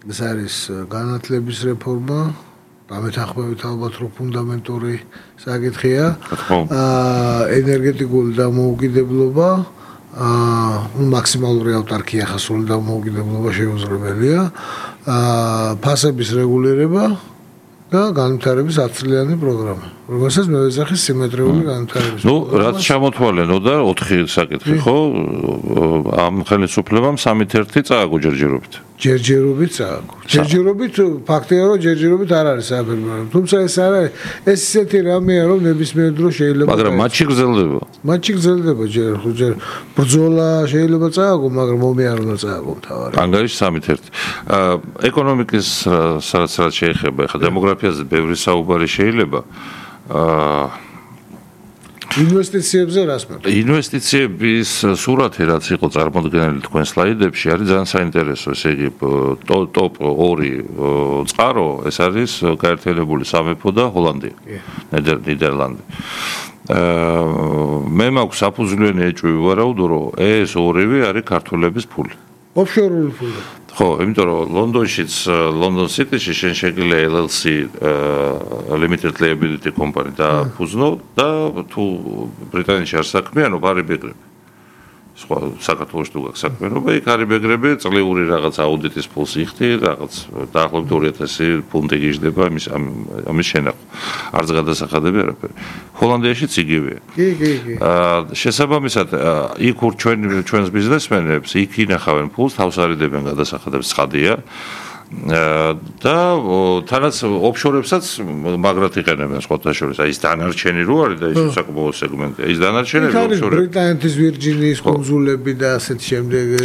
ეს არის განათლების რეფორმა, დამეთანხმებით ალბათ რო ფუნდამენტური საკითხია. ენერგეტიკული დამოუკიდებლობა, მაქსიმალური ავტარკია ხასული დამოუკიდებლობა შეუძლებელია, ფასების რეგულირება და განვითარების 10 წლიანი პროგრამა. რომელსაც მე ვეძახი სიმეტრიული განვითარების. ნუ რაც ჩამოთვალენო და 4 საკითხი, ხო? ამ ხელისუფლებამ 3-1 წააგო ჯერჯერობით. ჯერჯერობით წააგო. ჯერჯერობით ფაქტია რომ ჯერჯერობით არ არის საფერმო. თუმცა ეს არის ეს ისეთი რამეა რომ ნებისმიერ დროს შეიძლება მაგრამ მატჩი გრძელდება. მატჩი გრძელდება ჯერ ბრძოლა შეიძლება წააგო, მაგრამ მომი არ უნდა წააგო თავარი. ანგარიში 3-1. ეკონომიკის სადაც შეეხება, ხა დემოგრაფიაზე ბევრი საუბარი შეიძლება. ინვესტიციებზე რას მეუბნებით? ინვესტიციების სურათი რაც იყო წარმოდგენილი თქვენ სლაიდებში არის ძალიან საინტერესო, ესე იგი ტოპ 2 წყარო ეს არის გაერთიანებული სამეფო და ჰოლანდია, ნიდერლანდი. მე მაქვს საფუძვლიანი ეჭვი ვარაუდო რომ ეს ორივე არის ქართველების ფული. ოფშორული ფული. ხო, იმიტომ რომ ლონდონშიც ლონდონ სიტიში შენ შეგიძლია LLC limited liability company დააფუძნო და თუ ბრიტანეთში არ საქმიანობ არ იბეგრები. სხვა საქართველოს თუ გაქვს საქმიანობა, იქ არ იბეგრები, წლიური რაღაც აუდიტის ფულს იხდი, რაღაც დაახლოებით 2000 ფუნტი გიждდება ამის შენახვა. არც გადასახადები არაფერი. ჰოლანდიაშიც იგივეა. კი. შესაბამისად, იქ ჩვენს ბიზნესმენებს იქ ინახავენ ფულს, თავს არიდებენ გადასახადებს, ცხადია. და თანაც ოფშორებსაც მაგრად იყენებენ სხვათა შორის. აი ეს დანარჩენი რო არის და ის საკმაო სეგმენტია. ის დანარჩენები ოფშორები. ბრიტანეთის ვირჯინიის კუნძულები და ასეთ შემდეგ